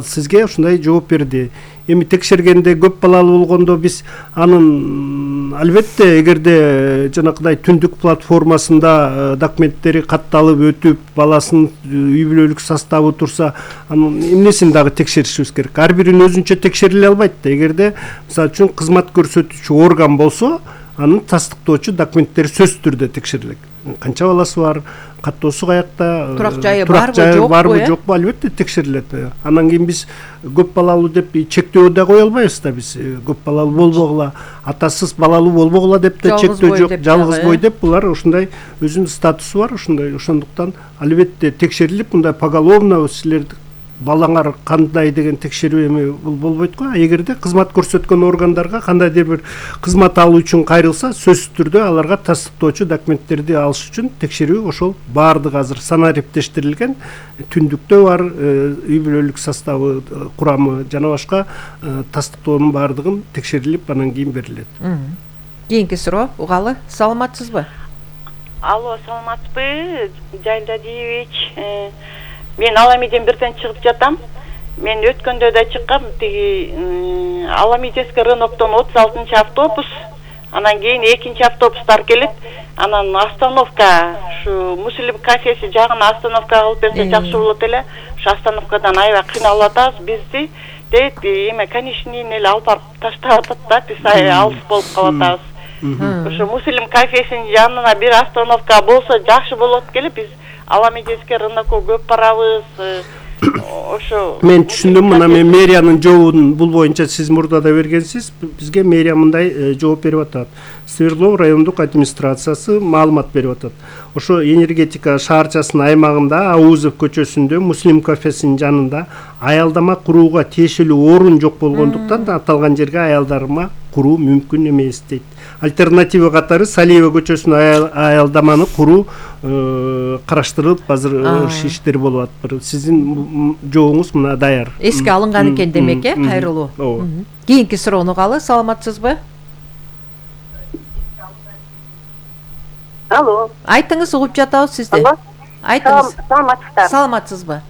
Сизге ушундай жооп берди. Эми текшергенде көп балалуу болгондо биз анын албетте эгерде жанакыдай түндүк платформасында документтери катталып өтүп, баласынын үй бүлөлүк составы турса, анын эмнесин дагы текшеришибиз керек. Ар бирин өзүнчө текшериле албайт да. Эгерде мисалы үчүн кызмат көрсөтүүчү орган болсо, анын тастыктоочу документтери сөзсүз түрдө текшерилет. Канча баласы бар, каттоосу каякта, турак жайы барбы, жокпу, албетте текшерилет. Андан кийин биз көп балалуу деп чектөө да кое албайбыз да биз. Көп балалуу болбогула, атасыз балалуу болбогула деп да чектөө жок, жалгыз бой деп булар ушундай өзүнүн статусу бар, ушундай. Ошондуктан албетте текшерилип, мындай поголовно силерди балаңар кандай деген текшерүү эми бул болбойт го. Эгерде кызмат көрсөткөн органдарга кандайдыр бир кызмат алуу үчүн кайрылса, сөзсүз түрдө аларга тастыктоочу документтерди алыш үчүн текшерүү ошол баардыгы азыр санариптештирилген. Түндүктө бар, үй бүлөлүк составы, курамы жана башка тастыктоонун баардыгын текшерилип, анан кийин берилет. Кийинки суроо угалы. Саламатсызбы? Алло, саламатсызбы, Жайдадиевич? Мен Аламиден бирден чыгып жатам. Мен өткөндө да чыккам. Тиги Аламидеске Рыноктон 36-чы автобус, анан кийин 2-чи автобустар келет. Анан остановка, ушу Муслим кафеси жагына остановка кылып берсе жакшы болот эле. Ушу остановкадан аябай кыйналып атабыз бизди. Дейт, эме конечныйын эле алып барып таштап атат да, биз алыс болуп калып атабыз. Ушу Муслим кафесинин жанына бир остановка болсо жакшы болот келе. Биз Аламидеске Рынокко көп барабыз. ошо мен түшүндүм. Мына мен мэриянын жообун бул боюнча сиз мурда да бергенсиз. Бизге мэрия мындай жооп берип атат. Свердлов райондук администрациясы маалымат берип атат. Ошо энергетика шаарчасынын аймагында Аузов көчөсүндө Муслим кафесинин жанында аялдама курууга тиешелүү орун жок болгондуктан аталган жерге аялдарма куруу мүмкүн эмес дейт. Альтернатива катары Салиева көчөсүнүн аялдаманы куруу караштырылып азыр иштер болуп атат. Сиздин жообуңуз мына даяр. Эске алынган экен демек, кайрылуу. Кийинки суроону угалы. Саламатсызбы? Алло. Айтыңыз, угуп жатабыз сизди. Айтыңыз. Саламатсызбы?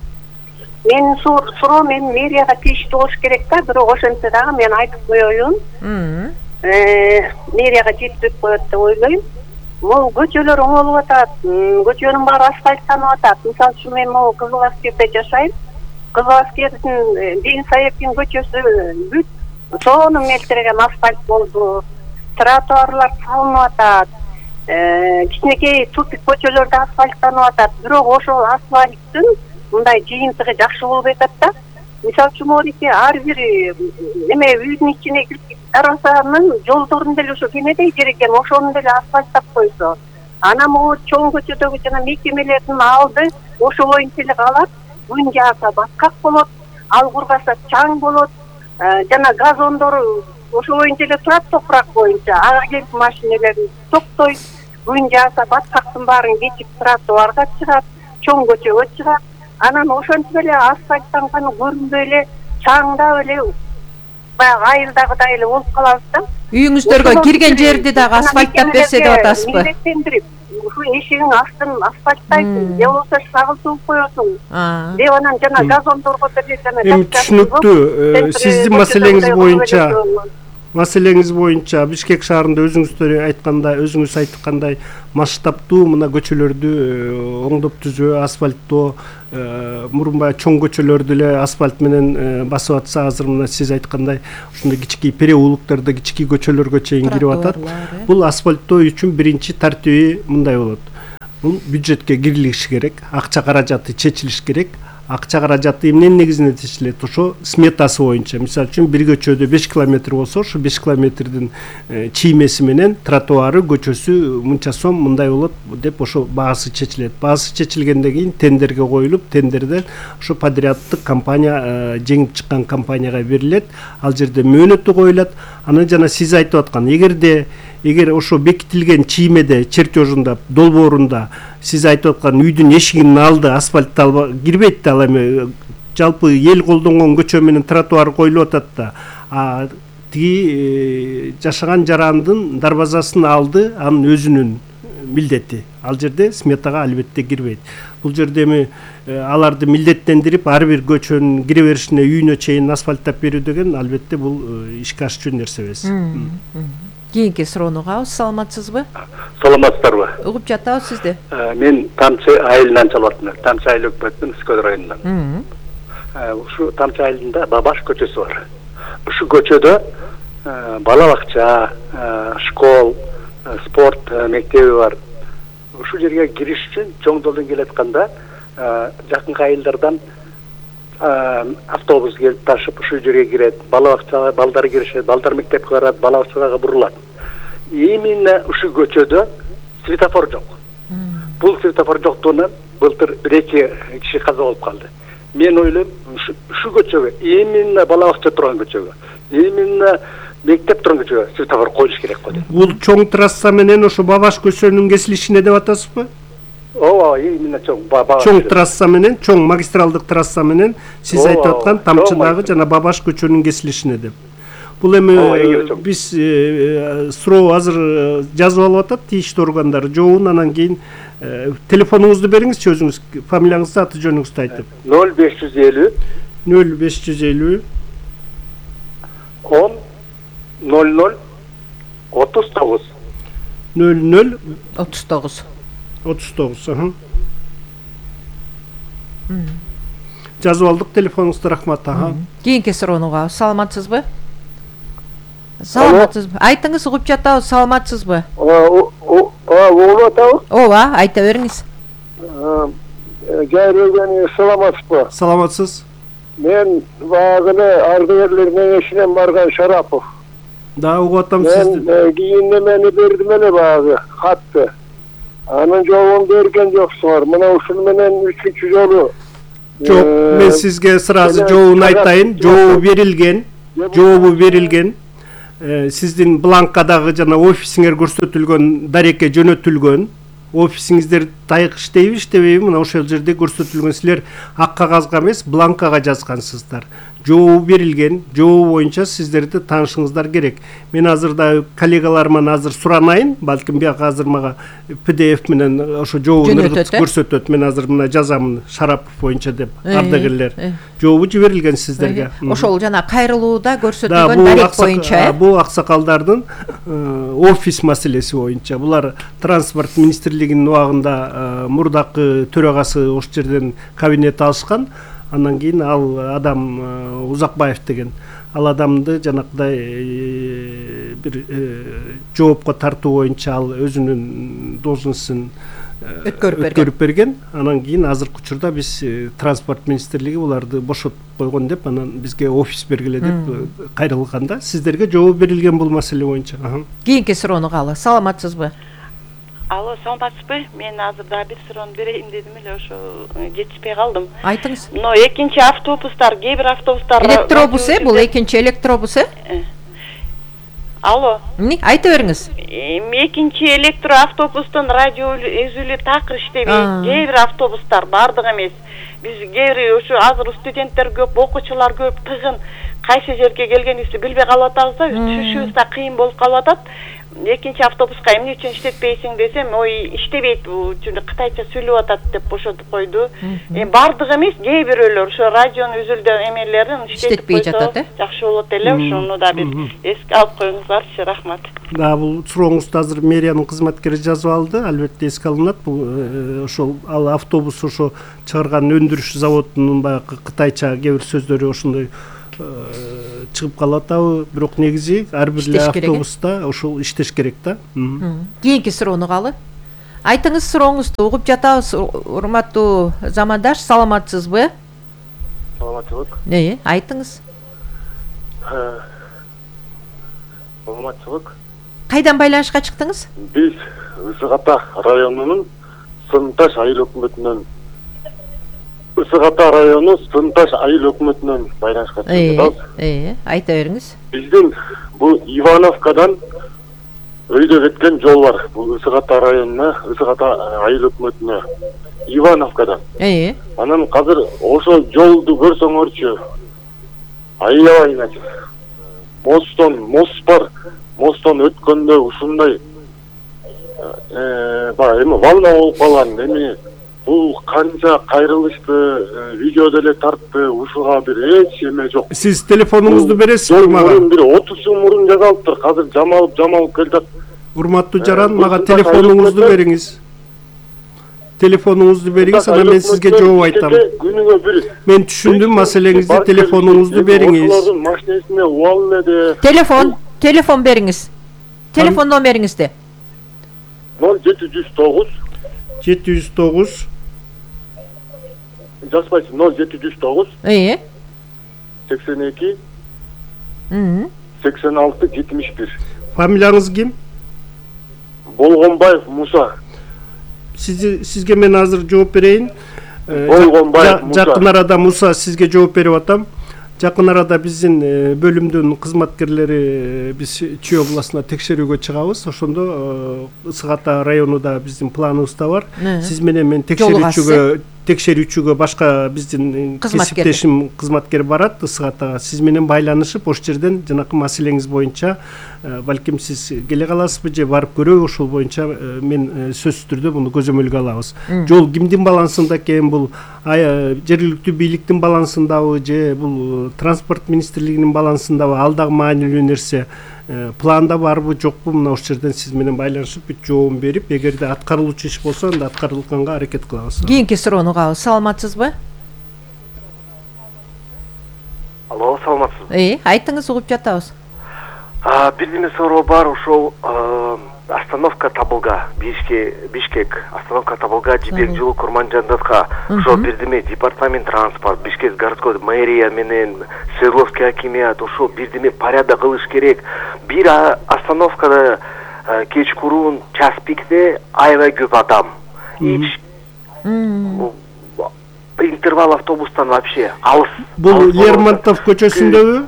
Менин суроо мен мэрияга тийиштүү болуш керек да, бирок ошентсе дагы мен айтып коеюн. Мэрияга жеткирип коет деп ойлойм. Могу көчөлөр оңолуп атат, көчөнүн баары асфальттанып атат. Мисалы үчүн мен могу Кызыл Аскерде жашайм. Кызыл Аскердин Ден Саевдин көчөсү бүт сонун мелтиреген асфальт болду. Тротуарлар салынып атат. Кичинекей тупик көчөлөрдө асфальттанып атат. Бирок ошол асфальттын мындай жыйынтыгы жакшы болбой атат да. Мисалы үчүн могу ар бир эме үйдүн ичине кирип дарбазанын жолдорун деле ошо кемедей жер экен, ошону деле асфальттап койсо. Анан могу чоң көчөдөгү жана мекемелердин алды ошо боюнча эле калат. Күн жааса баткак болот, ал кургаса чаң болот. Жана газондору ошо боюнча эле турат, топурак боюнча. Ага келип машиналер токтойт. Күн жааса баткактын баарын кечип тротуарга чыгат, чоң көчөгө чыгат. Анан ошентип эле асфальттанганы көрүнбөй эле чаңдап эле баягы айылдагыдай эле болуп калабыз да. Үйүңүздөргө кирген жерди дагы асфальттап берсе деп атасызбы? Милдеттендирип, ушу эшигиң астын асфальттайсың, же болбосо шагылтып коесуң. Деп анан жана газондорго деле жана түшүнүктүү. Сиздин маселеңиз боюнча Бишкек шаарында өзүңүз айткандай масштабтуу мына көчөлөрдү оңдоп түзөө, асфальттоо, мурунбай чоң көчөлөрдү эле асфальт менен басып атса, азыр мына сиз айткандай ушундай кичикей переулоктордо кичикей көчөлөргө чейин кирип атат. Бул асфальттоо үчүн биринчи тартиби мындай болот. Бул бюджетке кирилиши керек, акча каражаты чечилиш керек. Акча каражаты эмненин негизинде чечилет? Ошо сметасы боюнча. Мисалы үчүн бир көчөдө 5 километр болсо, ошо 5 километрдин чиймеси менен тротуары, көчөсү мынча сом мындай болот деп ошо баасы чечилет. Баасы чечилгенден кийин тендерге коюлуп, тендерден ошо подряддык компания, жеңип чыккан компанияга берилет. Ал жерде мөөнөтү коюлат. Анан жана сиз айтып аткан, эгер ошо бекитилген чиймеде, чертежунда, долбоорунда сиз айтып аткан үйдүн эшигинин алды асфальт кирбейт да, ал эми жалпы эл колдонгон көчө менен тротуар коюлуп атат да. Тиги жашаган жарандын дарбазасынын алды анын өзүнүн милдети. Ал жерде сметага албетте кирбейт. Бул жерде эми аларды милдеттендирип, ар бир көчөнүн кире беришине үйүнө чейин асфальттап берүү деген албетте бул ишке ашчу нерсе эмес. Кийинки суроону угабыз. Саламатсызбы? Саламатсыздарбы? Угуп жатабыз сизди. Мен Тамчы айылынан чалып атам. Тамчы айыл өкмөттүн Үскөдөр районунан. Ушу Тамчы айылында Бабаш көчөсү бар. Ушу көчөдө бала бакча, школ, спорт мектеби бар. Ушу жерге кириш үчүн чоң жолдон келатканда жакынкы айылдардан автобус келип ташып ушу жерге кирет. Бала бакчага балдар киришет, балдар мектепке барат, бала бакчага бурулат. Именно ушу көчөдө светофор жок. Бул светофор жоктугунан былтыр 1-2 киши каза болуп калды. Мен ойлойм, ушу көчөгө, именно бала бакча турган көчөгө, именно мектеп турган көчөгө светофор коюш керек го деп. Бул чоң трасса менен ошо Бабаш көчөнүн кесилишине деп атасызбы? Ооба, именно чоң трасса менен, чоң магистралдык трасса менен сиз айтып аткан Тамчыдагы жана Бабаш көчөнүн кесилишине деп. Бул эми биз суроо азыр жазып алып атат тийиштүү органдар жообун, анан кийин телефонуңузду бериңизчи, өзүңүз фамилияңызды, аты жөнүңүздү айтып. 0550 0550 10 00 39 00 39 39. Жазып алдык телефонуңузду, рахмат. Кийинки суроону угабыз. Саламатсызбы? Саламатсызбы? Айтыңыз, угуп жатабыз. Саламатсызбы? Угуп атабы? Ооба, айта бериңиз. Жайрылган саламатсызбы? Саламатсыз. Мен баягы эле ардыгерлер кеңешинен барган Шарапов. Да, угуп атам сизди. Мен кийин немени бердим эле баягы хатты. Анын жообун берген жоксуңар. Мына ушул менен 3-чү жолу. Жок, мен сизге сразу жообун айтайын. Жообу берилген. Сиздин бланкадагы жана офисиңер көрсөтүлгөн дарекке жөнөтүлгөн. Офисиңиздер тайык иштейби, иштебейби? Мына ошол жерде көрсөтүлгөн. Силер ак кагазга эмес, бланкага жазгансыздар. Жообу берилген. Жообу боюнча сиздерди таанышыңыздар керек. Мен азыр да коллегаларыман азыр суранайын, балким бияка азыр мага PDF менен ошо жообун көрсөтөт. Мен азыр мына жазамын Шарапов боюнча деп, ардагерлер. Жообу жиберилген сиздерге. Ошол жана кайрылууда көрсөтүлгөн дарек боюнча. Бул аксакалдардын офис маселеси боюнча. Булар транспорт министрлигинин убагында мурдакы төрагасы ош жерден кабинет алышкан. Андан кийин ал адам Узакбаев деген ал адамды жанакыдай бир жоопко тартуу боюнча ал өзүнүн должностун өткөрүп берген. Анан кийин азыркы учурда биз транспорт министрлиги буларды бошотуп койгон деп, анан бизге офис бергиле деп кайрылганда сиздерге жооп берилген бул маселе боюнча. Кийинки суроону каалы. Саламатсызбы? Алло, саламатсызбы? Мен азыр да бир суроону берейин дедим эле, ошо жетишпей калдым. Айтыңыз. Но экинчи автобустар, кээ бир автобустар электробус бул экинчи электробус Алло. Айта бериңиз. Экинчи электроавтобустун радио үзүлү такыр иштебейт. Кээ бир автобустар бардыгы эмес. Биз кээ бир ошо азыр студенттер көп, окуучулар көп, тыгын кайсы жерге келгенибизди билбей калып атабыз да, түшүшүбүз да кыйын болуп калып атат. Экинчи автобуска эмне үчүн иштетпейсиң десем, ой, иштебейт, бул кытайча сүйлөп атат деп бошотуп койду. Бардыгы эмес, кээ бирөөлөр ошо радионун үзүлдө эмелерин иштетпей жатат, жакшы болот эле, ошону да бир эске алып коюңуздарчы, рахмат. Да, бул сурооңузду азыр мэриянын кызматкери жазып алды, албетте эске алынат. Бул ошол ал автобус ошо чыгарган өндүрүш заводунун баягы кытайча кээ бир сөздөрү ошондой чыгып калып атабы, бирок негизи ар бир автобуста ошол иштеш керек да. Кийинки суроону каалы. Айтыңыз сурооңузду, угуп жатабыз. Урматтуу замандаш, саламатсызбы? Саламатчылык. Айтыңыз. Саламатчылык. Кайдан байланышка чыктыңыз? Биз Ысык Ата районунун Сынташ айыл өкмөтүнөн Ысык-Ата району Сынташ айыл өкмөтүнөн байланышка чыктык. Айта бериңиз. Биздин бул Ивановкадан өйдө кеткен жол бар. Бул Ысык-Ата районуна, Ысык-Ата айыл өкмөтүнө Ивановкадан. Анан азыр ошол жолду көрсөңөрчү, аябай мост бар. Мосттон өткөндө ушундай эми волна болуп калган. Эми бул канча кайрылышты, видео деле тартты, ушуга бир эч эме жок. Сиз телефонуңузду бересизби мага? Бир 30 жыл мурун жасалыптыр. Азыр жамалып келатат. Урматтуу жаран, мага телефонуңузду бериңиз. Телефонуңузду бериңиз, анан мен сизге жооп айтам. Күнүгө бир. Мен түшүндүм маселеңизди, телефонуңузду бериңиз. Алардын машинесине убал эле. Телефон бериңиз. Телефон номериңизди. 0709 жазбайсың, 0709 82 86 71. Фамилияңыз ким? Болгонбаев Муса. Сизге мен азыр жооп берейин. Болгонбаев Муса. Жакын арада Муса сизге жооп берип атам. Жакын арада биздин бөлүмдүн кызматкерлери биз Чүй областына текшерүүгө чыгабыз. Ошондо Ысык-Ата районунда биздин планыбызда бар. Сиз менен мен текшерүүчүгө башка биздин кесиптешим кызматкер барат Ысык-Атага. Сиз менен байланышып, ош жерден жанакы маселеңиз боюнча балким сиз келе каласызбы же барып көрөбү, ошол боюнча мен сөзсүз түрдө муну көзөмөлгө алабыз. Жол кимдин балансында экен, бул жергиликтүү бийликтин балансындабы же бул транспорт министрлигинин балансындабы, ал дагы маанилүү нерсе. Планда барбы, жокпу, мына ош жерден сиз менен байланышып бүт жообун берип, эгерде аткарылуучу иш болсо, анда аткарылганга аракет кылабыз. Кийинки суроону кабыл. Саламатсызбы? Алло, саламатсызбы? Айтыңыз, угуп жатабыз. Бир суроо бар, ошол остановка Табылга, Бишкек, остановка Табылга, Жибек жолу Курманжандатка, ошо бирдеме департамент транспорт, Бишкек городской мэрия менен Свердловский акимият ошо бирдеме порядок кылыш керек. Бир остановкада кечкурун час пикте аябай көп адам. Интервал автобустан вообще алыс. Бул Лермонтов көчөсүндөбү?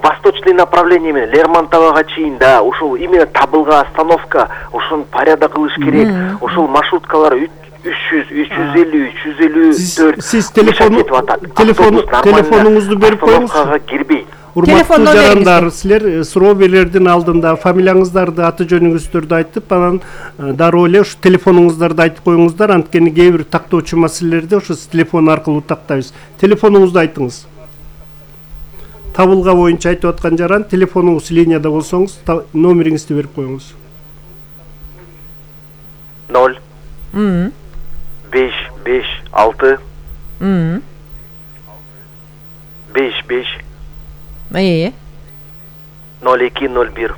Восточный направление менен Лермонтовага чейин, да, ошол именно Табылга остановка, ошонун порядок кылыш керек. Ошол маршруткалар 300, 350, 354. Сиз телефонуңузду берип коюңуз. Остановкага кирбейт. Урматтуу жарандар, силер суроо берердин алдында фамилияңыздарды, аты жөнүңүздөрдү айтып, анан дароо эле ушу телефонуңуздарды айтып коюңуздар, анткени кээ бир тактоочу маселелерди ошо телефон аркылуу тактайбыз. Телефонуңузду айтыңыз. Табылга боюнча айтып аткан жаран, телефонуңуз линияда болсоңуз, номериңизди берип коюңуз. 0 5 5 6 5 5 0201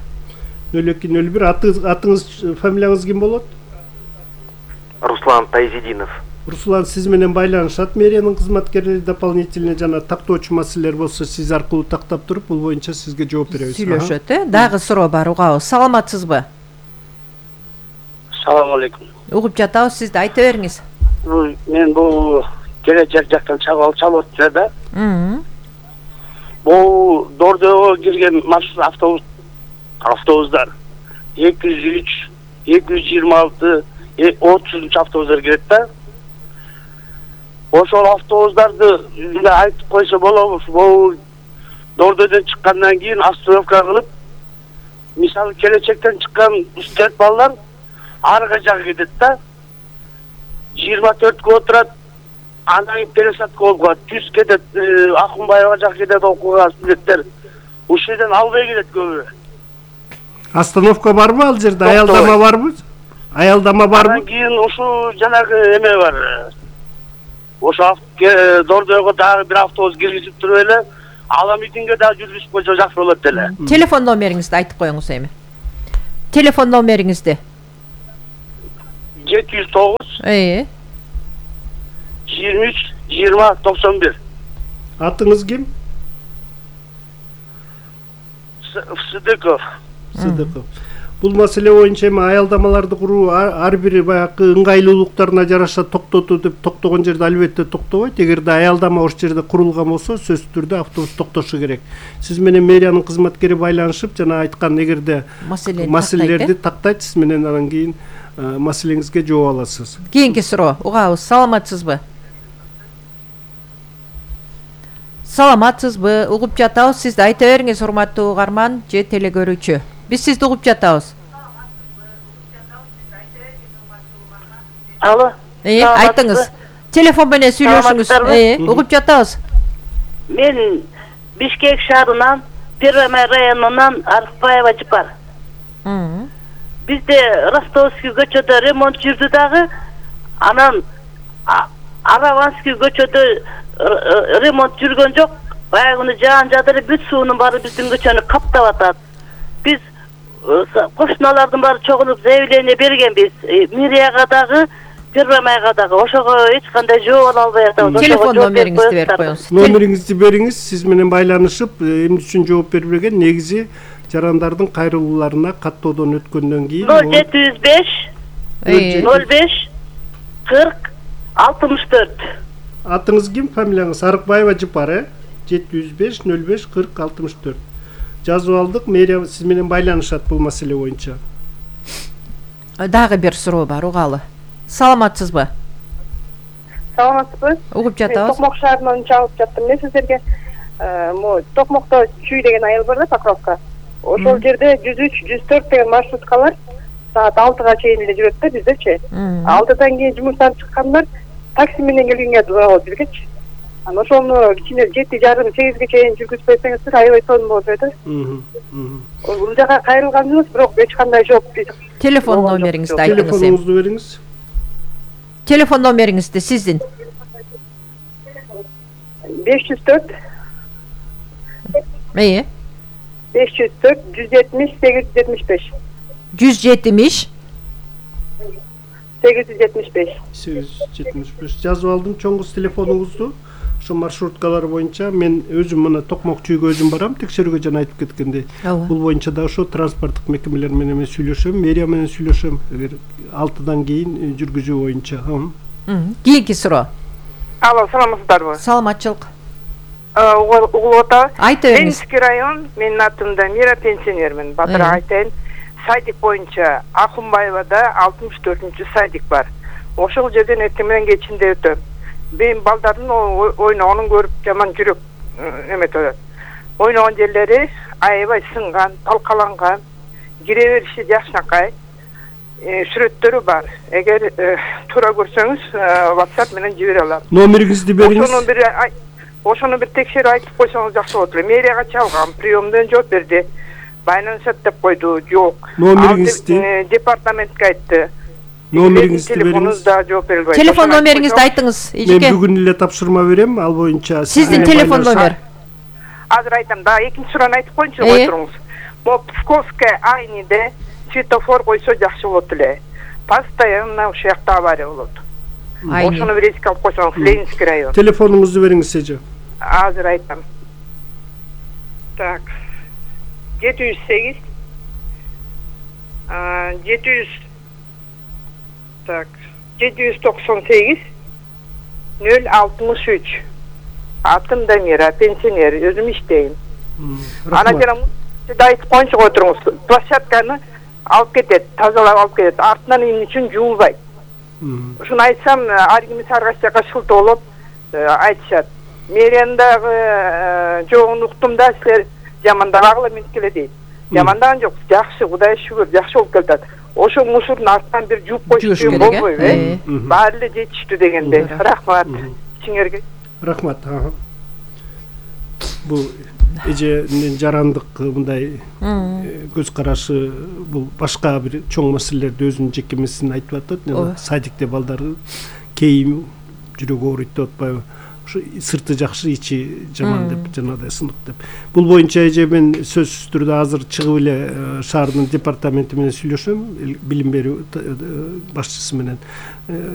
0201. Атыңыз, фамилияңыз ким болот? Руслан Тайзидинов. Руслан, сиз менен байланышат мэриянын кызматкерлери дополнительно жана тактоочу маселелер болсо сиз аркылуу тактап туруп, бул боюнча сизге жооп беребиз. Сүйлөшөт, Дагы суроо бар, угабыз. Саламатсызбы? Салам алейкум. Угуп жатабыз, сиз да айта бериңиз. Мен бул келечек жактан чалып чалып атты да. Бул Дордого кирген маршрут автобустар 203, 226, 30 автобустар кирет да. Ошол автобустарды айтып койсо болобу? Бул Дордодон чыккандан кийин остановка кылып, мисалы келечектен чыккан студент балдар арга жакка кетет да. 24 отурат, андан кийин пересадка болуп калат. Түз кетет, Акунбаева жакка кетет окууга студенттер. Ушул жерден албай кетет көбү. Остановка барбы ал жерде? Аялдама барбы? Аялдама барбы? Андан кийин ушул жанагы эме бар. Ошо Дордого дагы бир автобус киргизип туруп эле, Аламидинге дагы жүргүзүп койсо жакшы болот эле. Телефон номериңизди айтып коюңуз эми. Телефон номериңизди. 709 23 20 91. Атыңыз ким? Сыдыков. Бул маселе боюнча эми аялдамаларды куруу ар бир баягы ыңгайлуулуктарына жараша токтоту деп токтогон жерде албетте токтобойт. Эгерде аялдама ошол жерде курулган болсо, сөзсүз түрдө автобус токтошу керек. Сиз менен мэриянын кызматкери байланышып, жана айткан эгерде маселелерди тактайт, сиз менен анан кийин маселеңизге жооп аласыз. Кийинки суроо, угабыз. Саламатсызбы? Саламатсызбы? Угуп жатабыз, сиз да айта бериңиз, урматтуу угарман же телекөрүүчү. Биз сизди угуп жатабыз. Алло. Айтыңыз. Телефон менен сүйлөшүңүз. Угуп жатабыз. Мен Бишкек шаарынан, Первомай районунан Арыкбаева Жыпар. Бизде Ростовский көчөдө ремонт жүрдү дагы. Анан Араванский көчөдө ремонт жүргөн жок. Баягыны жаан жадыры бүт суунун баары биздин көчөнү каптап атат. Биз кошуналардын баары чогулуп заявление бергенбиз. Мэрияга дагы, Первомайга дагы. Ошого эч кандай жооп ала албай атабыз. Телефон номериңизди берип коюңуз. Номериңизди бериңиз, сиз менен байланышып, эмне үчүн жооп бербеген? Негизи жарандардын кайрылууларына каттоодон өткөндөн кийин 0705 05 40 64. Атыңыз ким? Фамилияңыз? Арыкбаева Жыпар, 705 05 40 64. Жазып алдык, мэрия сиз менен байланышат бул маселе боюнча. Дагы бир суроо бар, угалы. Саламатсызбы? Саламатсызбы? Угуп жатабыз. Токмок шаарынан чалып жаттым. Мен сиздерге Токмокто Чүй деген айыл бар да, Покровка. Ошол жерде 103, 104 деген маршруткалар саат 6-га чейин эле жүрөт да биздечи. 6-дан кийин жумуштан чыккандар такси менен келгенге туура болот бизгечи. Анан ошону кичине 7:30-8-ге чейин жүргүзүп койсоңуздар аябай сонун болот да. Бул жака кайрылганбыз, бирок эч кандай жооп. Телефон номериңизди айтыңыз. Телефонуңузду бериңиз. Телефон номериңизди сиздин. 504 504 170 875. 170 875. 875 жазып алдым чоң кыз телефонуңузду. Ошо маршруткалар боюнча мен өзүм мына Токмок чүйгө өзүм барам, текшерүүгө жана айтып кеткендей. Бул боюнча да ошо транспорттук мекемелер менен сүйлөшөм, мэрия менен сүйлөшөм. Эгер 6-дан кийин жүргүзүү боюнча. Кийинки суроо. Алло, саламатсыздарбы? Саламатчылык. Угулуп атабы? Айта бериңиз. Ленинский район, менин атым Дамира, пенсионермин. Батыр айтайын. Садик боюнча Акунбаевада 64-чү садик бар. Ошол жерден эртең менен кечинде өтөм. Мен балдардын ойногонун көрүп жаман жүрөк эметип. Ойногон жерлери аябай сынган, талкаланган, кире бериши жакшынакай. Сүрөттөрү бар. Эгер туура көрсөңүз, WhatsApp менен жибере алам. Номериңизди бериңиз. Ошону бир текшерип айтып койсоңуз жакшы болот эле. Мэрияга чалгам, приемдон жооп берди. Байланышат деп койду, жок. Номериңизди департаментке айтты. Номериңизди бериңиз. Телефон номериңизди айтыңыз. Мен бүгүн эле тапшырма берем, ал боюнча сиздин телефон номер. Азыр айтам, да экинчи суроону айтып коюнчу, кой туруңуз. Могу Псковская айниде светофор койсо жакшы болот эле. Постоянно ушул жакта авария болот. Ошону бир эске алып койсоңуз, Ленинский район. Телефонуңузду бериңиз эже. Азыр айтам. Так. 708 798 063. Атым Дамира, пенсионер, өзүм иштейм. Ана жана сиз айтып коюнчу кой туруңуз. Площадканы алып кетет, тазалап алып кетет. Артынан эмне үчүн жуулбайт. Ушуну айтсам, ар ким ар кайсы жака шылтоо болуп айтышат. Мэриядагы жоогун уктум да, силер жамандагыла мен келе дейт. Жамандаган жок, жакшы, Кудайга шүгүр, жакшы болуп келатат. Ошо мусордун артынан бир жууп койсо болбойбу, баары эле жетиштүү дегенде. Рахмат. Сиңерге. Рахмат. Бул эженин жарандык мындай көз карашы, бул башка бир чоң маселелерди өзүнүн жеке меселин айтып атат. Садикте балдар кейим жүрөгү ооруйт деп атпайбы? Сырты жакшы, ичи жаман деп, жанагыдай сынык деп. Бул боюнча эже мен сөзсүз түрдө азыр чыгып эле шаардын департаменти менен сүйлөшөм, билим берүү башчысы менен.